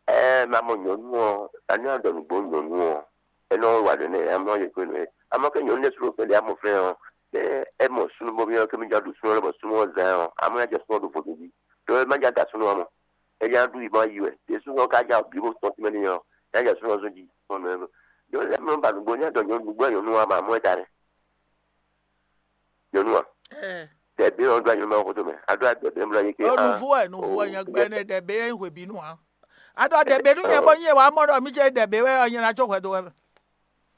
Ɛɛ ma mɔ nyɔnu ɔ ani adɔ nugbo nyɔnu ɔ ɛnɔ wa ɖe nɛ amɔ yɛ kpe nɛ amɔ ke nyɔnu lɛ sunu kpe de amɔ fɛ ɔ ɛ ɛmɔ sunu bɔ mi ɔ ke mi jɔ ɖu sunu lɛ bɔ sunu ɔ zan ɔ amɔ ya jɔ sunu ɔ ɖo vodun ji to ɛ ma ja da sunu amɔ ɛ ya ɖu yi ma yi wɛ te sunu ɔ ka ja bi bo tɔn ti mɛ ni ɔ ya ja sunu ɔ zɔn ji tɔn nɔ ɛ do lɛ mɛ ba nugbo nya dɔ nyɔnu nugbo nyɔnu wa ma mɔ ɛ da rɛ nyɔnu wa Ɛ dɛbi ɔ do anyɔnu ma koto mɛ a do a dɛbi mla yi ke o ah nuvu ɛ nuvu ɛ nyɛ gbɛ ne ɖɛbe yɛ hwe bi nu a. A ɖɔ ɖɛbe nu nyɛ bɔ nyɛ wa mɔ ɖɔ mi ce ɖɛbe wɛ ɔ nyɛ na tso hwɛ do wɛ.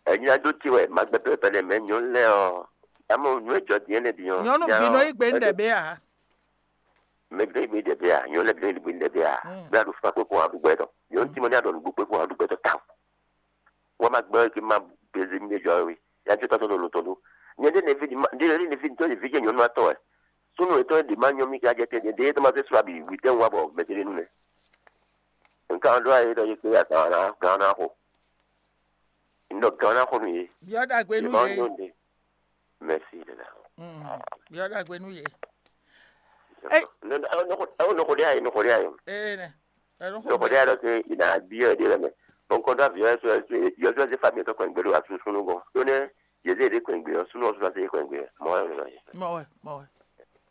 Ɛnyina do ti wɛ ma gbɛ pɛpɛ lɛ mɛ nyɔnu lɛ ɔ amɔ nyɔnu ejɔ diɛ ne bi ɔ Nyɔnu bi nɔ yi gbe nu ɖɛbe a. Mɛ gbe gbe ɖɛbɛ a nyɔnu lɛ gbe gbe ɖɛbɛ a Mm. bɛ a ɖo fún akpé kó aɖu gbɛ tɔ nyɔnu ti mɔ ní aɖɔ nugbo kpé kó aɖu gbɛ tɔ ta. Wọ́n máa gbọ́ kí n máa bẹ̀rẹ̀ mi jọ rí yájú tọ́tọ́ ló lò tọ́dún. Nyɛ ɖé nevi ɖé ɖé nevi tó nevi jẹ́ nyɔnu atɔ ɛ. Súnú ètò èdè máa nyɔ mí kí ajẹ́ tẹ́ ɖé tó máa fẹ́ sùn àbí wì tẹ́ ń wá bọ̀ mẹ́tẹ́lẹ́ nù nɛ. Nǹkan ọdún ayé lọ yí pé àtàwọn ará gan náà kò. Ńdọ̀ gan náà kò nù yé. Biɔ ɖagbe nu Ìbọn ye. Nyɔnu ɖe. Mɛsi dada. Mm. Biɔ ɖagbe nu ye. Ɛwɔ nɔkɔ ɖe ayi nɔkɔ ɖe ayi. Ee nɛ. Ɛnu xɔ Nɔkɔ ɖe ayi lɔ ke ina biɔ ɖe lɛ mɛ. Bɔnkɔ dɔ aviɔ ɛsɛ ɛsɛ yɔsɔ ɛsɛ fami ɛtɔ kɔn gbɛdo asu sunu gɔn. Ɖo nɛ yeze ɖe kɔn gbɛ sunu ɔsɔ ɛsɛ kɔn gbɛ mɔ ɛnu lɔ yɛ. Mɔ wɛ mɔ wɛ.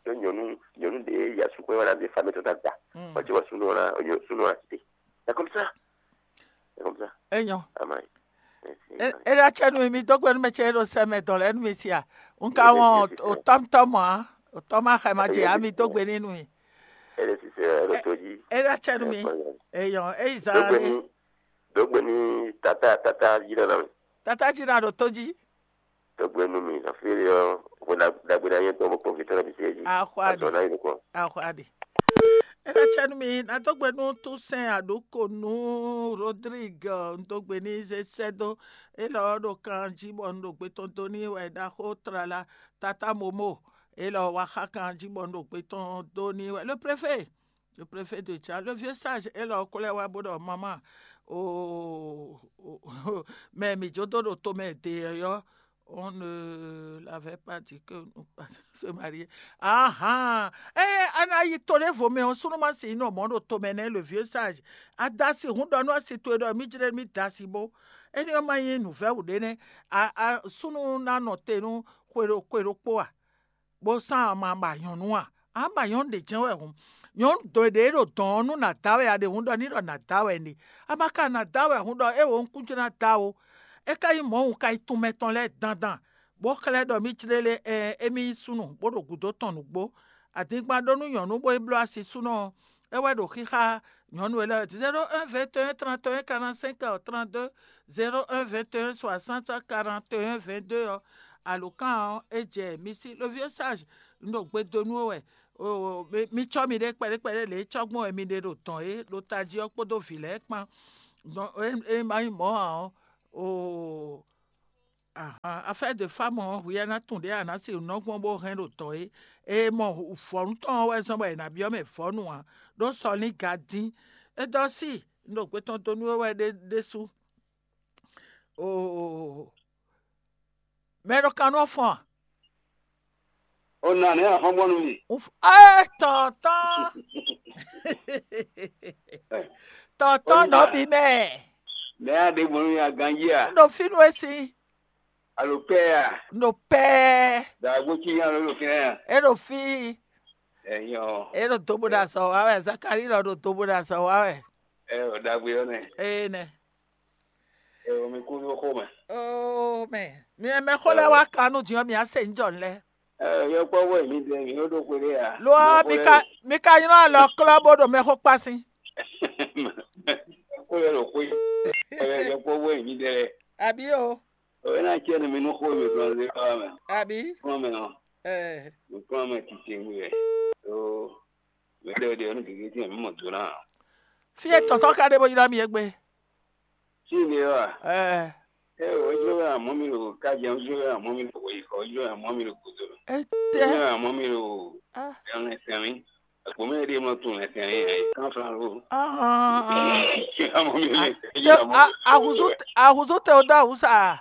Ɖo nyɔnu nyɔnu ɖe yasu kɔn wala de fami ɛtɔ dada. Mm. Ɔtí wɔ sunu ɔla sunu ɔla tete. C'est comme ça. C'est comme ça. Enyɔ. Ama yi. Eɖa tsɛ nu mi dó gbe nu mɛ tsɛ ɖo sɛ mɛ dɔn lɛ nu mi sia. Nka wɔn o tɔm tɔm a o tɔm a xɛ ma dze ami dó gbe ni nu mi. Ele sise ele to dzi. Eɖa tsɛ nu mi. Eyɔ eyi zan Dogbe ni. Ni dogbe ni tata tata yi na na mi. Tata dzi na ɖo tó dzi. Dogbe nu mi na fi yɔ vo dagbe na yɛ tɔn mo kpɔn vitɔ na bi se dzi. Axɔ aɖe. Azɔ na yi nukɔ. Axɔ aɖe. Eɖa tsɛ nu mi na dó gbe nu Toussaint Adokonu Rodrigue n dó gbe ni zé sɛ dó. Elɔ ɖo kan dzi bɔ n ɖo gbe tɔn dó ni wɛ ɖaxó trala tata momo. Elɔ wa xa kan dzi bɔ n ɖo gbe tɔn dó ni wɛ le préfet. Le préfet de Tchad, le vieux sage est là au collègue wa bodo maman. Oh, oh, oh, mais mi jodo do to mais d'ailleurs on ne l'avait pas dit que nous pas se marier. Ah ah. Eh, ana yi to le vo mais on sunu ma si no mondo to mais le vieux sage. Adasi hun do no si to do mi jre mi dasi bo. Eni o ma yin nouvelle ou de ne. A a sunu na no te nu kwero kwero po a. Bó sán ama ba nyɔ̌nu a? Ama nyɔ̌nu ɖě jɛ́n wɛ hǔn. Nyɔ̌nu dǒ ɖě ɖo dɔ̌n ɔ́ nú nǎ da wɛ a ɖe hǔn ɖɔ ní ɖɔ nǎ da wɛ n'i. A ma ka nǎ da wɛ hǔn ɖɔ é wǒ un kún jló ná da ó. É ka nyí mɔ̌ un ka yi tunmɛ tɔn lɛ́ɛ dandan, bó xlɛ́ ɖɔ mì clélé ɛɛ émí nyí súnnu bó ɖo gǔdo tɔn nǔgbó. Adingban ɖó nú nyɔ̌nu bó yi bló asi súnnu ɔ́, é wɛ ɖo xíxá nyɔ̌nu élɔ́ zéro un vingt et un trente et un quarante-cinq trente-deux, zéro un vingt et un soixante quarante et un vingt-deux ɔ́, alǒkan ɔ́ é jɛ mi sí. Le vieux sage, un ɖo gbe dó nú we wɛ. Mi cɔ́ miɖée kpɛɖé kpɛɖé lě e cɔ́gbɔn wɛ mi ɖe ɖo dɔ̌n é ɖo tají ɔ́ kpódó vǐ lɛ́ɛ kpán. Dɔn é ma nyí mɔ̌ ǎ ɔ́, oo, ahan, affaire de femme ɔ́, hwi ɔ́ ná tunwun ɖě a nǎ sixú nɔ gbɔn bó hɛn ɖo dɔ̌n é. È mɔ vɔ̌nu tɔn ɔ́ wɛ zɔ́n bɔ è nǎ byɔ́ mɛ vɔ̌nu ǎ, ɖó sɔ ní ga dín. É dɔ́ sí, un ɖo gbe tɔn dó nú we wɛ ɖé ɖésú. Oo, mɛ ɖo kan nú ɔ́ fɔ́n a? O nǎ nɛ́ axɔ́gbɔ́nú mi. Uf- Ɛ tɔntɔn. Tɔntɔn nɔ bi mɛ. Nɛ́ a ɖe gbɔn nú mi aganjí a? Un ɖo fínú e sin. Alo pɛ́ a? Un ɖo pɛ́. Dǎgbó cí nya ló ɖo fínɛ́ a? E ɖo fí. Ɛyɔ. E ɖo dobo ɖo azɔ wa wɛ. Zakari lɔ ɖo dobo ɖo azɔ wa wɛ. Ɛ o ɖagbe ɔ́ nɛ. Ee nɛ. Ɛ o mi kú nú xó mɛ. Oo mɛ, mi mɛ xó lɛ́ɛ wá ka nú din ɔ́, mi á se njɔ lɛ. Ɛ yɔkpɔ́vú wɛ mi ɖe mi ɖó ɖó xwé ɖé a? Lo ɔ́, mi ka mi ka nylɔ alɔ klɔ́ bó ɖo mɛxó kpá sín. Xó lɛ́ɛ ɖo xwé. Ɛ yɔkpɔ́vú wɛ mi ɖe lɛ. Àbí o? Ɔ é ná cɛ nú mi nú xó e mi gblɔ́n ɖe xá mɛ. Àbí? Kplɔ́n mɛ ɔ́, Ɛɛ. Mi kplɔ́n mɛ titewú wɛ. Ɖó mɛ ɖé ɖe ɔ́ nú gěgé tɛ́ntin mǐ mɔ do ná ǎ. Fí e tɔ̌tɔ́ ka ɖe bó ylɔ́ mì égbé. Fí e ɖe ɔ́ a? Ɛɛ. Ɛ o, é jló wɛ amɔ̌ mi ɖo kájɛ, é jló wɛ amɔ̌ mi ɖo weyǐxɔ, é jló wɛ amɔ̌ mi ɖo gǔdo. É Étɛ́. Jló wɛ amɔ̌ mi ɖo Ah. Ɛlɛn sɛnlí. Àgbo mɛ ɖé mɔ tunwun lɛ sɛnlí ɛ kánflán ló. Ah. Amɔ̌ mi lɛ sɛnlí. Ahùzú ahùzú tɛ o dó àwùsà.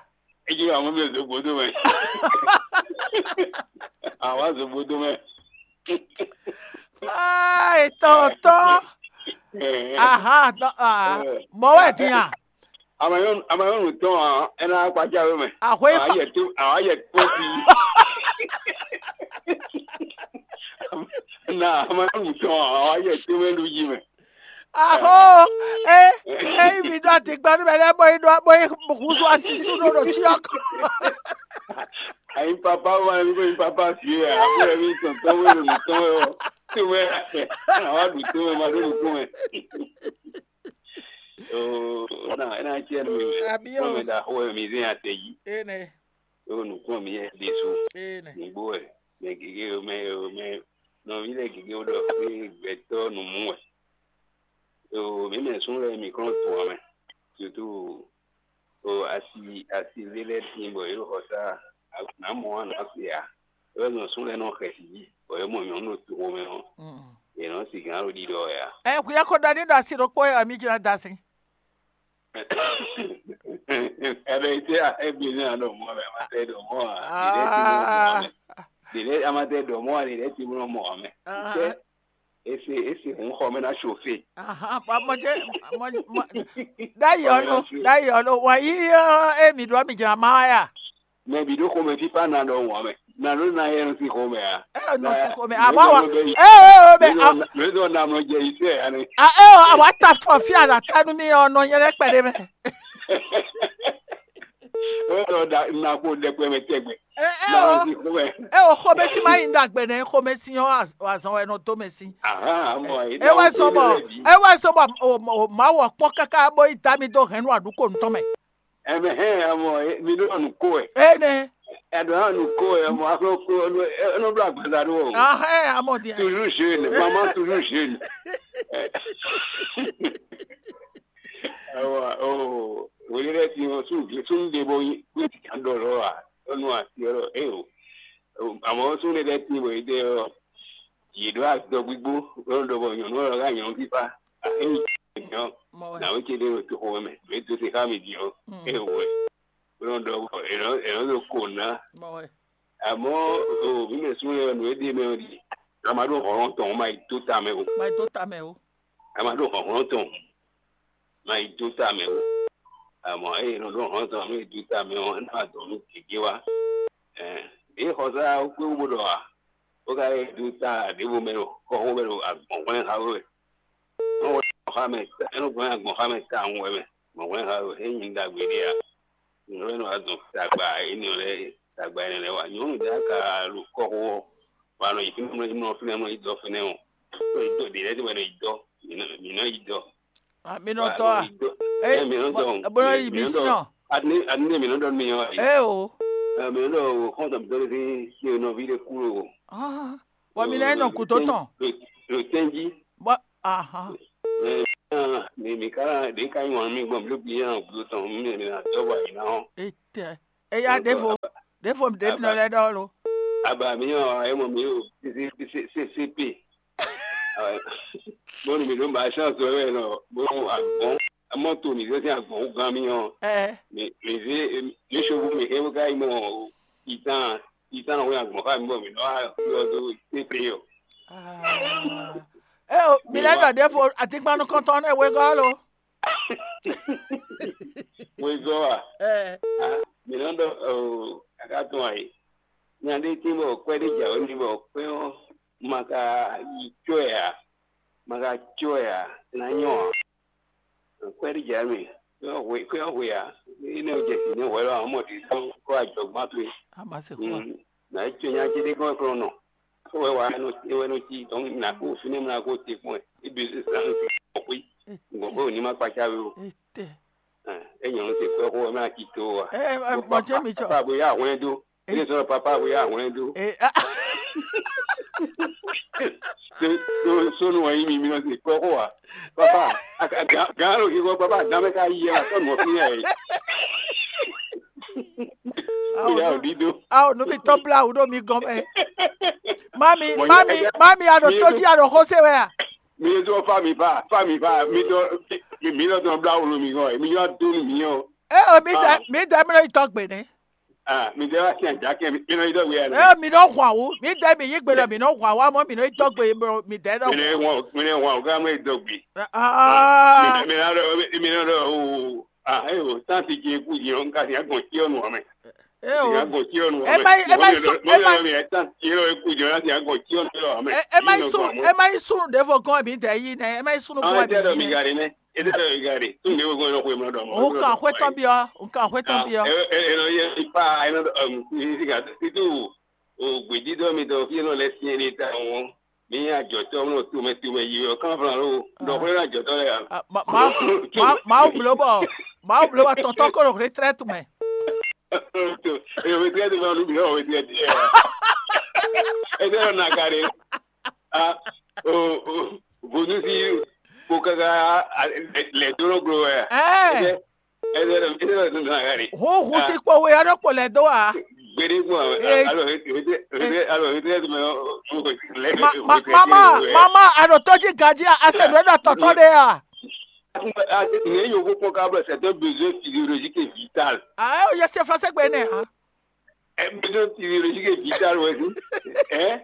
É jló wɛ amɔ̌ mi ɖo gǔdo mɛ. Àwa zogbodo mɛ. Ai tɔntɔn. Aha, tɔ- ah, mɔ wɛ din a? Amayɔnu amayɔnu tɔn a, ɛna akpaja we mɛ. Ahwe Awa fa- yɛ to awa yɛ to fi. Na amayɔnu tɔn a, awa yɛ to mɛ lu yi mɛ. Aho, e e yi mi ɖo adigbanu mɛ lɛ bɔ yi ɖo bɔ yi huzu asisu ɖo ɖo tsi ɔkɔ. Ayi papa wa mi ko yi papa fi ya, abe mi tɔntɔn we lo nutɔn we o. To we, awa ɖu to we ma ɖo nukun we. Oo, na ena tiɛ nu mi. Abi o. Kɔmi da xo mi zin ate yi. Ene. Ɖó nǔkplɔ́nmɛ yɛ́ ɖésú. Nǔgbó wɛ mɛ gěgé mɛ mɛ nɔví lɛ́ɛ gěgé wó ɖɔ xwé gbɛtɔ́ nǔmú wɛ. Ɖo mǐ mɛ súnnu lɛ́ɛ mǐ kplɔ́n tun ǎ mɛ. Sutu ɖo asi asi lé lɛ́ɛ tíin bɔ yě ɖo xɔ sá nǎ mɔ ǎ nǎ se ǎ. É wɛ nɔ súnnu lɛ́ɛ nɔ xɛsi jí bɔ yě mɔ nyɔ̌nu ɖo toxo mɛ ɔ́, yě nɔ sigǎn ɖo ɖiɖɔ wɛ ǎ. Ɛ hwi ɔ́ ko ɖɔ ní ɖo asi ɖokpó wɛ mi jlá da sin. Ɛbɛ ite a ebi ne a ɖo mɔ mɛ ma tɛ ɖo mɔ a ɖe ɖe ti mɔ mɔ mɛ ɖe ɖe a ma tɛ ɖo mɔ a ɖe ɖe ti mɔ mɔ mɛ ite ese ese hun xɔ mɛ na chauffer. Ahan, bɔ mɔ jɛ mɔ mɔ ɖayi ɔlo ɖayi ɔlo wɔ yi ɔ emi ɖɔ mi jra ma ya. Mɛ bi ɖo xomɛ fífá na ɖɔ wɔn mɛ na ɖo na yɛ nɔ si xomɛ a. Ɛ nɔ si xomɛ a bɔ wa ɛ ɛ ɛ bɛ a. Lóyún náà nɔ jẹ iṣẹ́ ẹ̀ ni. A ɛ ɔ àwa ta fún ọ fí àná tánú mi ọ nọ yẹn lẹ pẹ̀lẹ́ mẹ. Ó sọ da nakó dẹkpẹ mẹ tẹgbẹ. Ɛ ɛ Náà o si xomẹ. Ɛ o xomɛ si ma yi ń dàgbẹ nẹ xomɛ si yọ azɔn wẹ nọ tó mẹ si. Aha mọ ẹ. Ẹ wá sọ bọ ẹ wá sọ bọ o ma wọ kpọ kaka bó yi dá mi dó hẹn nú àdúgbò ntọ́ mẹ. Ɛmɛ hɛn amɔ mi ɖo anu ko ɛ. Ene. Ɛɖɔ anu ko ɛ mɔ akɔ ko ɛnɔ blɔ agbaza ɖo o. Ahɛ amɔ di. Toujours jeune, maman toujours jeune. Awa o wele ɖe ti o sun sun de bo yi ko ti kan dɔ lɔ wa. Onu ati ɔ e o. Amɔ sun de ɖe ti bo yi de ɔ. Yě ɖó azɔgbígbó bó nɔ́ ɖɔ bɔ nyɔ̌nu ɔ́ hɛn nyɔ̌nu fífá. Ényí nyɔ̌ Mɔ wɛ. Nǎwe ce ɖé ɖo toxo mɛ, mɛ dó se xá mi din ɔ́, Mm. É wɛ. Bó nɔ́ ɖɔ bɔ è nɔ́ è nɔ ɖo ko ná. Mɔ wɛ. Àmọ́ o mǐ mɛ súnnu lɛ́ɛ nǔ e ɖe mɛ ɔ́ ɖi. A ma ɖó hlɔ̌nhlɔ́n tɔn, ma yi dó ta mɛ o. Ma yi dó ta mɛ o. A ma ɖó hlɔ̌nhlɔ́n tɔn, ma yi dó ta mɛ o. Àmọ́ eye nɔ ɖó hlɔ̌nhlɔ́n tɔn, nú yi dó ta mɛ ɔ́, é ná wa dɔ̌n nú gěgé wá. Ɛ, ɖěe xɔsá ɔ́ kpé wú bó ɖɔ a? bó ka yɛ dó ta ɖěvo mɛ ɖo kɔxó mɛ ɖo agbɔ̌nhwlɛ́n xa wɛ. Wọ́n wɛ gbɔn xá mɛ, é nɔ gbɔn gbɔn xá mɛ tawun wɛ mɛ. Gbɔn hwlɛ́n xa wɛ é nyi ɖagbe ɖé a? Nyɔ̌nu e nɔ wá dɔn tagba énɛ́ lɛ́ɛ, tagba énɛ́ lɛ́ɛ wá. Nyɔ̌nu ɖé ka ɖo kɔ́xo ɔ́, wá nɔ yi fínɛ́, nɔ yi mlɔ fínɛ́, nɔ yi dɔ fínɛ́ ɔ́, nɔ yi dɔ ɖě lɛ́ɛ tɔn wɛ nɔ yi dɔ. Mǐ nɔ mǐ nɔ yi dɔ. Ah, mi nɔ Wá dɔ nɔ a? Yi dɔ. Ɛ, Ɛ, mǐ nɔ dɔ. Bɔ- bɔ nɔ yi Mǐ nɔ dɔ. Misiyɔn. Adi ne adi ne mǐ nɔ dɔ nú mi ɔ́. Ɛ o. Ɛ, mǐ nɔ dɔ o xɔ́ntɔn mǐtɔn ɖé sín nɔví ɖé kú lo. Ah, bɔ mi lɛ́ nɔ kúdó tɔn. Lo tɛnji. Bɔ aha. Ɛ, mi mi ka ɖe ka nyi wǎn mi gbɔn mi ɖo bi yɛn gúdo tɔn mi mi na dɔ bɔ yina ɔ. Etɛ. Eya ɖevo ɖevo ɖe mi nɔ lɛ ɖɔ lo. Aba mi yɔ ɛ mɔ mi o C C C C P. Bɔn mi ɖo ma chance wɛ nɔ bɔn agbɔn mɔto mi zɛ sin agbɔn gan mi ɔ. Ɛ. Mi mi zɛ mi sobu mi hɛn ka yi mɔ itan itan wɛ agbɔn ka mi bɔ mi nɔ yɔ do C P ɔ. Ah. Eo, mi lɛ́ ɖɔ ɖěvo atínkpannukɔntɔn nɛ́ wegɔ́ lo. Wezɔ a? Ɛ. Ah, mi nɔ ɖɔ o, aka tɔn ayi. Nya ɖé tín bɔ kwɛ ɖé jà wɛ mi bɔ kwɛ ɔ́ ma ka yi cɔ ɛ a? Ma ka cɔ ɛ a? Na nyɔ a? Kwɛ ɖé jà mi. Kwɛ ɔ́ hwe, kwɛ ɔ́ hwe a? Énɛ́ ɔ́ jɛ si nɛ́ hwɛ lɔ amɔ ɖi sɔn kɔ ajɔgbán towe. A ma se xó a? Mm. Na yi cɔ nya ce ɖé kɔn kplɔn nɔ. Wɛ wa nɔ wɛ nɔ ci dɔn na ko fínɛ́ mla ko te kpɔn ɛ. Ebi se sa nɔ kpɔkpɔi. Gbɔn ko ní ma kpatsa we o. Etɛ. Ɛ, e nyɔnu te kpɛ xo mla ci to wa. Ɛ ɛ, gbɔn jɛ mi tsɔ. Papa bo ya hwlɛn do. E sɔ papa bo ya hwlɛn do. E a. So so sonu wa yi mi mi nɔ te kpɛ xo wa. Papa a ka gan gan lo ki ko papa dan mɛ ka yi ya tɔ nɔ fi ya yi. Awo Ya nu- odi do. Awo nu mi tɔ bla awu ɖo mi gɔn mɛ. Mami, Mɔ mami, ya- mami, a ɖo mi- tó jí, a ɖo xó se wɛ a? Mi ɖo fa mi fa fa mi fa mi ɖo mi mi ɖo dɔn bla wolo mi gɔn mi yɔ do mi yɔ. E o mi dɛ mi dɛ mi ɖo yi tɔgbe nɛ. Ah, mi ɖe wá sin àjákẹ́ mi mi nɔ yi dɔgbe yà E lɛ. O mi ɖo hwan wu, mi dɛ mi yi gbe ɖɔ mi ɖo hwan wu, amɔ mi ɖo yi tɔgbe bro, mi dɛ ɖɔ. Mi nɛ wɔn mi nɛ wɔn ɔgá mi dɔgbe. Ah, mi mi na ɖɔ mi na ɖɔ o ah e o santi jɛ kú jɛ n ka sin agbɔn tí ɔnu amɛ. E o. Sin agbɔn tí ɔnu E ma yi- e ma yi sún- e ma- mi ɛ santi jɛ kú jɛ n ka sin agbɔn tí ɔnu amɛ. E e ma yi sún e ma yi sún ɖevo gɔn mi dɛ yi nɛ, e ma yi sún Àwọn gɔn ẹgbẹ́ ọ̀dọ̀ mi mi nɛ. Gàrí nẹ. Ẹgbẹ́ ọ̀dọ̀ mi Gàrí. Tún mi gbogbo ọ̀nà kò mọ̀ ọ̀dọ̀ mọ́. Òun kàn hwé tán bí ọ, òun kàn hwé tán bí ọ. Ẹ̀rọ yẹ ipa ẹ̀rọ ìsìnkà títí ògbèdídọ́ mi dọ̀ fí ẹ̀rọ lẹ sí ẹni ta wọn. Mi àjọ̀tọ́ ọ̀nà tó mẹ tó mẹ yìí ọ̀kan fúnra ló. Dọ̀kọ́ ẹ̀rọ àjọ̀tọ́ rẹ̀ yà. Ah, ma- ma- ma- Màá wù bló bọ̀, màá wù bló bọ̀ tọ̀tọ̀ kó lóore tẹ́lẹ̀ tún mẹ́. Èwe tí ẹ ti máa lù mí náà, èwe tí ẹ ti ẹ. Ẹ jẹ́ ọ̀nà àkàrẹ́. Ah, o o bonu si ko kaka lɛ doro glo wɛ. Ɛ Ɛdɛ ɛdɛ ɛdɛ ɛdɛ ɛdɛ ɛdɛ. Huhu si kpo we ɔ́ ɖo kpo lɛ dó a? Gbede gbɔ. Ee. Alo ete ete alo ete ɛdɛ mɛ. Ma ma mama mama, a ɖo tó jí ganjí a, a se nǔ e ɖɔ tɔtɔ ɖe a? Ne yo ko kpɔn ka bɔ c'est un besoin physiologique et vital. A ɛ o yɛ se français gbe nɛ a? Un besoin physiologique et vital wɛ si. Ɛ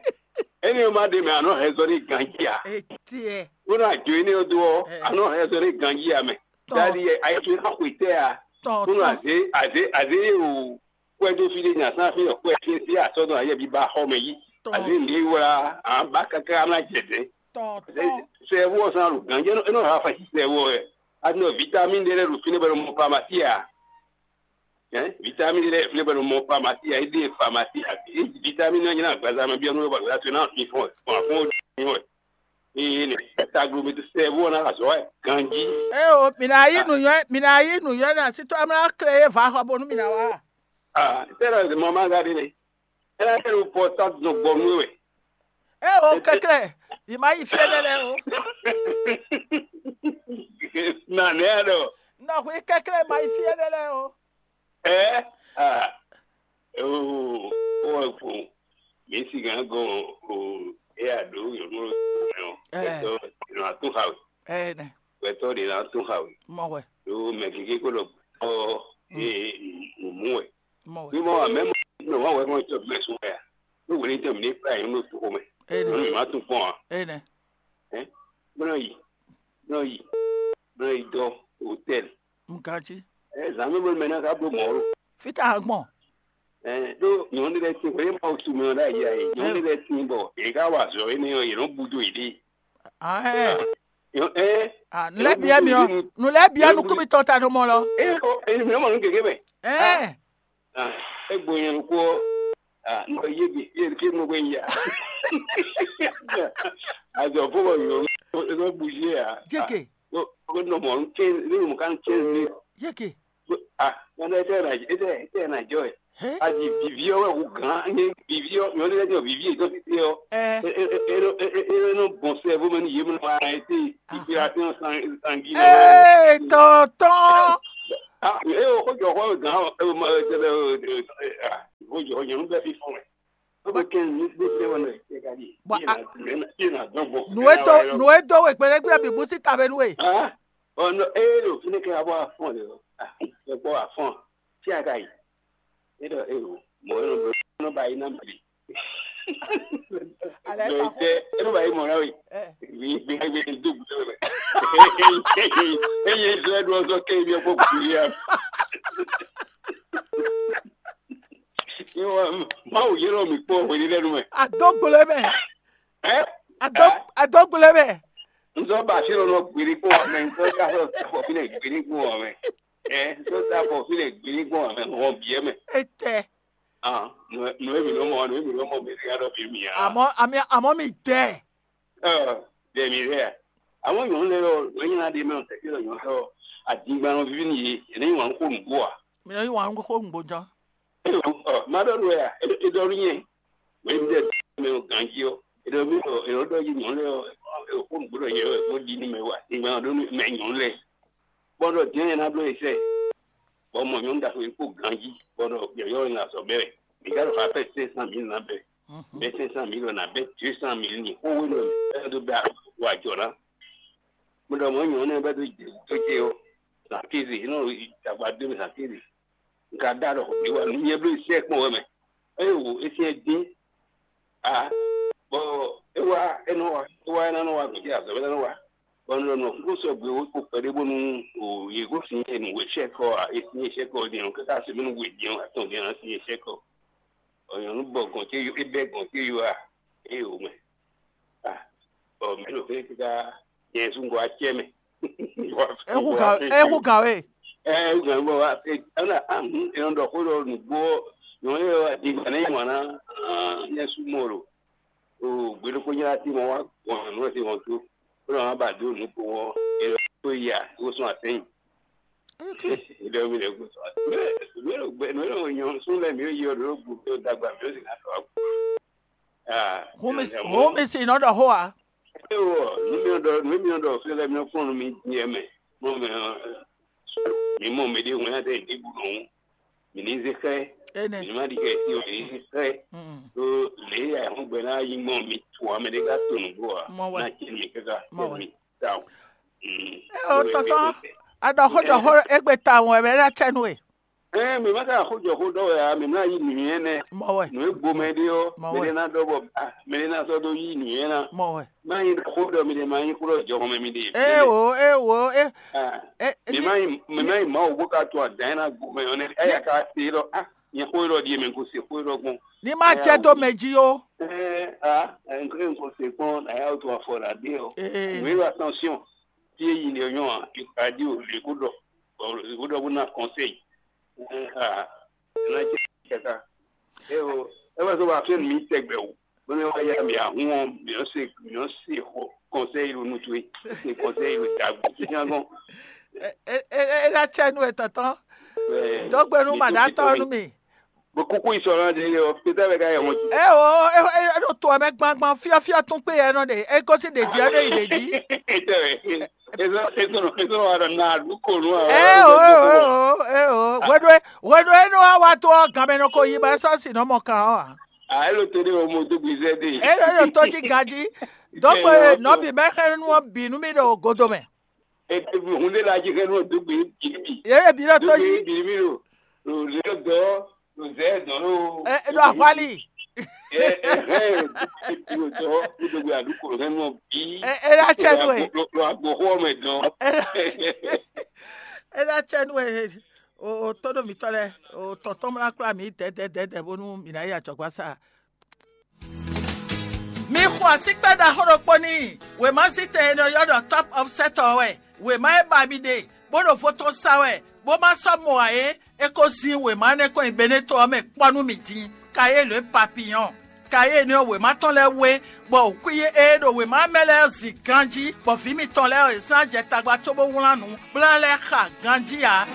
ɛni o ma ɖe mɛ anɔ hɛzɔ ɖe ganjí a? Etiɛ. Wona jo ene o do ɔ anɔ hɛzɔ ɖe ganjí a mɛ. Tɔn. Dali ɛ ayi to na xwe tɛ a? Tɔn Wona tɔn. Aze aze aze o kwɛ do fi ɖe nya san fi ɔ kwɛ fi fi asɔ dɔn ayɛ bi ba xɔ mɛ yi. Tɔn. Aze mi wla an ba kaka an na jɛ dɛ. Tɔn tɔn. Sɛ wɔ san lo ganjí ɛnɔ ɛnɔ ha fa si sɛ wɔ ɛ. Ati nɔ vitamine ɖe lɛ ɖo fi ne bɛ ɖo mɔ pharmacie a? Hein? Vitamine lɛ fi ne bɛ ɖo mɔ pharmacie a? Ede pharmacie a? E vitamine ɔ́ nyina agbaza mɛ biɔ nú ba gbada to na fi fɔn fɔn fɔn o di wɛ. Ee ne taglo mi to sɛ wɔ na azɔ wɛ ganji. E o, mi na yi nu yɔ, mi na yi nu yɔ na si to amla kle ye va xɔ bonu mi na wa. Ah, tẹ́lẹ̀ mama ga de ne. Ela yɛ ɖo pɔtable nɔ gbɔ nú we wɛ. E o kɛklɛ, yi ma yi fie ɖe lɛ o. Na ne ya ɖɔ. Nɔ hu yi kɛklɛ ma yi fie ɖe lɛ o. Ɛ a o o wɛ fo mi si gan gɔn o e a ɖo yɔnɔ mɛ o. Ɛ. Gbɛtɔ nɔ atún xa we. Ɛ nɛ. Gbɛtɔ de nɔ atún xa we. Mɔ wɛ. Ɖo mɛ kéké kó lɔ gbɛtɔ e mú wɛ. Mɔ wɛ. Bí wọ́n wà mẹ́mọ́ ní wọ́n wẹ́ wọ́n jọ mẹ́sùn wẹ́ à. Ní wòlé jẹ́ mi ní fúláyé ní oṣù kọ́mẹ́. Ene. Ní mi máa tún fún wa. Ene. Ẹ́ bọ́lá yìí bọ́lá yìí bọ́lá yìí dọ́ hòtẹ́ẹ̀lì. Nkanji. Ẹ zàn mí bọ́lá mẹ́ná ká bó mọ́ ọ́rọ́. Fita agbọ̀n. Ɛ ɖó nyɔ̌nu ɖé lɛ́ɛ tín hwenu e Mawu sú mɛ ɔ́ ɖ'ayǐ ǎ é. Nyɔ̌nu ɖé lɛ́ɛ tín bɔ yě ká wa azɔ̌ énɛ́ ɔ́, yě nɔ búdo yěɖée. Ɛ, ɛ, Nǔ lɛ́ɛ byɔ́ mi ɔ́, nǔ lɛ́ɛ byɔ́ nukún mitɔn ta ɖo mɔ lɔ. Ɛ, ɔ, ɛ, mi nɔ mɔ nǔ gěgé mɛ. Ɛ, Ah, é gbo nyɛ ɖokpó ɔ́, ah, nɔ yé gbe yé ké nɔ gbé ya. Azɔ fó bɔ yɔ é nɔ bouger ya. Jeke. Ko nɔ mɔ ké ní mɔ kan ké ní. Jeke. Ah, nɔ ɛ tɛ na ɛ tɛ ɛ tɛ na jɔ ɛ. He. A di vivi ɔ́ wɛ hu gán ní vivi ɔ́ nyɔ lɛ jɔ vivi ètò títí ɔ́. Ɛ. É é é é é é nɔ bɔn sɛ bó mɛ ní yé mɛ wá ɛ tɛ inspiration sanguine. Ee, tɔntɔn. Ah, e o ko jɔ xɔ gan e o ma e tɛ o e o jɔ nyɔnu bɛ fi fɔn wɛ. O bɛ kɛ ni gbe tɛ wɛ nɛ e ka di. Bɔn a Ye na dɔn bɔ. Nu e do nu e do we gbɛɖɛgbɛ bi bu si ta bɛ nu e. Ah, ɔ nɔ e ɖo fi ne kɛ abɔ afɔn de o. Ah, e kpɔ afɔn. Fi a ka yi. E ɖɔ e o mɔ e nɔ ba yi na mali. Alɛ Mɛ ta xo. Tɛ e nɔ ba yi mɔ na we. Ɛ. Wi gbe gbe do bu tɛ wɛ. Eye zɔ e ɖo ɔzɔ kɛ yi bi ɔkpɔ kuli ya. Mawu yɛlɛ mi kpɔ hwenɛ́nu mɛ. Adó gblé mɛ. Ɛ? Adó Ɛ? Adó gblé mɛ. N sɔ ba asi lɔ nɔ gbeli kpɔ wà mɛ, n sɔ ta fɔ fɔ fi lɛ gbeli kpɔ wà mɛ. Ɛ, n sɔ ta fɔ fi lɛ gbeli kpɔ wà mɛ, hɔn biɛ mɛ. Etɛ. Ah, nu nu emi nɔ mɔ, nu emi nɔ mɔ mi ya dɔ bi mi ya. Àmọ́ àmì àmọ́ mi dẹ. Ɛ, dɛ mi dɛ. Àwọn yòówù lɛ yɔ, wọ́n yẹn adé mɛ, tẹ̀sí lọ yọ̀ sọ, àdìgbà lọ fífi nìyí, ẹ̀ ní wà ń kó nùgbò à. Mi nɔ yí wà ń kó nùgbò jọ. Ɔ, má ɖɔ nú wɛ a? E ɖɔ nú nyɛ. Wɛ mi ɖe mɛ o ganjí ɔ. E ɖɔ mi ɔ, e ɖɔ ɖɔ yi nyɔ̌nu lɛ ɔ, e ko nǔgbó ɖɔ yɛ ɔ, e ko ɖi nú mɛ wa. Ìgbà ɖɔ nú mɛ nyɔ̌nu lɛ. Bɔ ɖɔ jɛ́n ɛ ná bló e sɛ. Bɔ mɔ nyɔ̌nu ɖaxó e kó ganjí. Bɔ ɖɔ yɔyɔ nya sɔ bɛ. Mi ka ɖɔ fa pɛ cinq cent mille ná bɛ. Bɛ cinq cent mille ná bɛ deux cent mille ni. Xó wé nɔ ɛ ɖo bɛ wa jɔ ná. Mo ɖɔ mɔ nyɔ̌nu ɛ bɛ ɖo jɛ tó ce ɔ. Zan kéze, e nɔ dagba dó mi zan kéze. N ka ɖa ɖɔ xɔ ɖé wa nú nyɛ bló sɛ kpɔn wɛ mɛ. Eye wò é syɛ́n dín. A bɔ é wá é nɔ wá é wá é ná nɔ wá gbèdé azɔ̌ é ná nɔ wá. Bɔ un ɖɔ nɔ kúkú sɔgbe wó kpo kpɛɖé bónú o yě kó sin é nǔ wé sɛ́kɔ a é sin é sɛ́kɔ din ɔ́ káká se bónú wě din ɔ́ atɔn din ɔ́ sin é sɛ́kɔ. Ɔ nyɔ̌nu bɔ gɔn cé yó é bɛ́ gɔn cé yó a é yǒ mɛ. A bɔ mɛ ɖo fɛ́n káká nyɛ zungɔ acɛ mɛ. Ehu gan ehu gan we. Ɛ ehu gan bɔ wa e ana ahun e nɔ ɖɔ xó ɖɔ nǔgbó nyɔ̌nu e wa di gba ne nyi wǎn ná nyɛ su mɔ ɖo o gbe ɖokpó nyɛ ati mɔ wa gbɔn nǔ e se wɔn tó ó nɔ wa ba dó nǔ ko wɔ e lɔ tó ya ó sɔn atɛnyi. Ìdɔ mi lɛ gbé sɔ mɛ mɛ lɔ gbɛ mɛ lɔ nyɔ sún lɛ mi yɔ ɖo gbó tó dagba mi ó sì ká tɔ. Aa Home is home is in other hoa. Ewɔ nu mi ɖɔ nu mi ɖɔ fi lɛ mi kpɔn nu mi diɛ mɛ mɔ mɛ mi mɔ mi ɖe ŋun ya tɛ ɖi bu nɔ mi ní zé xɛ Ene. Mi má ɖi xɛ si o mi ní zé xɛ Mm. Ɖo lě ya ɛhɔn gbɛ ná yi mɔ mi tu ame ɖe ká to nǔgbó a Mɔ wɛ. Ná tsi mi káká Mɔ wɛ. Mi ta o. Mm. Eo tɔtɔ aɖɔ xójɔ xó egbe ta ŋu ɛmɛ ɖe atsɛ nú e. Ɛɛ mi má ká xójɔ xó ɖɔ wɛ a mi má yi nǔ yɛn nɛ. Mɔ wɛ. Nǔ e gbomɛ ɖe ɔ Mɔ mɛ wɛ. Ɖe ná ɖɔ bɔ a mɛ ɖe ná sɔ́ ɖó yí nǔ yɛn ná. Mɔ wɛ. Má nyí xó ɖɔ mi ɖe má nyí xó ɖɔ jɔhɔn mɛ mi ɖe. Ewò ewò e Ah, e e mi ní má yi mi má yi Mawu bó ká to adǎn ná gbomɛ ɔ nɛ. Eya ká se ɖɔ a nyɛ xó ɖɔ ɖi mɛ ko se xó ɖɔ gbɔn. Ní má jẹ́ dó mɛ jí ó. Ɛɛ a n ko se kpɔn na ya to afɔ la ɖe ɔ. Ee. Wíwá attention. Tí èyí ni ọyàn a ìpàdé ò lè kó dọ̀ ò lè kó dọ̀ bó ná conseil. Ẹ ha ẹ ná jẹ́ kẹta. Ẹ o ẹ wá sọ wá fẹ́ mi tẹgbẹ́ o. Bó ní wá yá mi àhún ọ mi ò ṣe mi ò ṣe kọ conseil ló nu tó yìí. Ṣe conseil ló dàgbò. Ṣé kí wọ́n gbọ́n? E e e e la tsɛ nu etɔtɔ. Dɔgbenu ma da tɔ nu mi. Bó kúkú ìsọ̀rọ̀ de yọ pété bɛ ká yẹ wọn. E o e e e ɖo to ɛmɛ gbangban fiafia tún kpe yɛ nɔ de e gosi de ji ɛnɛ yi de ji. Ètò ètò ètò ètò wà lọ nà àdúgbò nù àwọn. E o e o e o e o hweɖo e hweɖo e nɔ wa wa to ɔ gamɛ nɔ ko yi ba e sɔ si nɔ mɔ kan ɔ wa. A e lo to de o mo do gbizɛ de. E ɖo e ɖo to ji gaji dɔgbe nɔbi mɛ xɛ nu ɔ bi nu mi ɖo godo mɛ. Ete bi hun de la ji xɛ nu ɔ do gbe bi bi. Ye bi ɖo to ji. Bi bi lo lo le dɔ lo zɛ dɔ lo. E e ɖo ahwali. Ɛ ɛ ɛ do gbe àdúgbò rẹ mọ bí. Ɛ ɛ la tsɛ nu ɛ. Lo agbo xɔ mɛ dɔn. Ɛ la tsɛ nu ɛ. O tóɖó mǐtɔn lɛ́ɛ, o tɔn tɔn ná kplá mǐ dɛ̌dɛ̌dɛ̌dɛ̌ bónú mǐ ná yi ajɔ̌gbásá. Mi xo asíkpɛ́ ɖaxó ɖokpó n'i. Wěmazítɛn e nɔ ylɔ́ ɖɔ Top of Set ɔ́ wɛ. Wěma e ba mi ɖe, bó ɖo vo tɔn sa wɛ, bó ma sɔ́ mɔ ǎ é, é ko zín wěma énɛ́ kɔn nyi Beneto ɔ́ mɛ kpɔ́ nú mǐ din, Kayélu e papiyɔ́n. Kayélu ɔ́, wěma tɔn lɛ́ɛ wé, bɔ wǔkwín e ɖo wěma mɛ lɛ́ɛ zin ganjí, bɔ vǐ mitɔn lɛ́ɛ ɔ́, è zán jɛ tagba cóbó wlán nǔ, bó ná lɛ́ xa ganjí ǎ.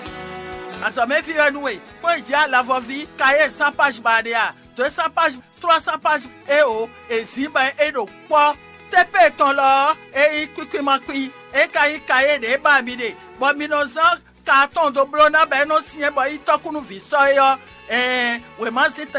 Azɔ̌mɛví wɛ nú we, kpɔ́n yi jǐ alavɔví, Kayélu sán páj ba ɖe a? Dǒ e sán páj, tlɔ́ sán páj é o, è zǐn bɔ é ɖo kpɔ́. Tépé tɔn lɔ ɔ́, é nyí kwíkwín ma kwín, é ka nyí Kayélu ɖě ba mi ɖe, bɔ mi nɔ zán ka tɔn dó bló ná bɔ é nɔ syɛ́n bɔ é nyí tɔ́kúnúví sɔ́ é ɔ́, ɛɛn, wěma zín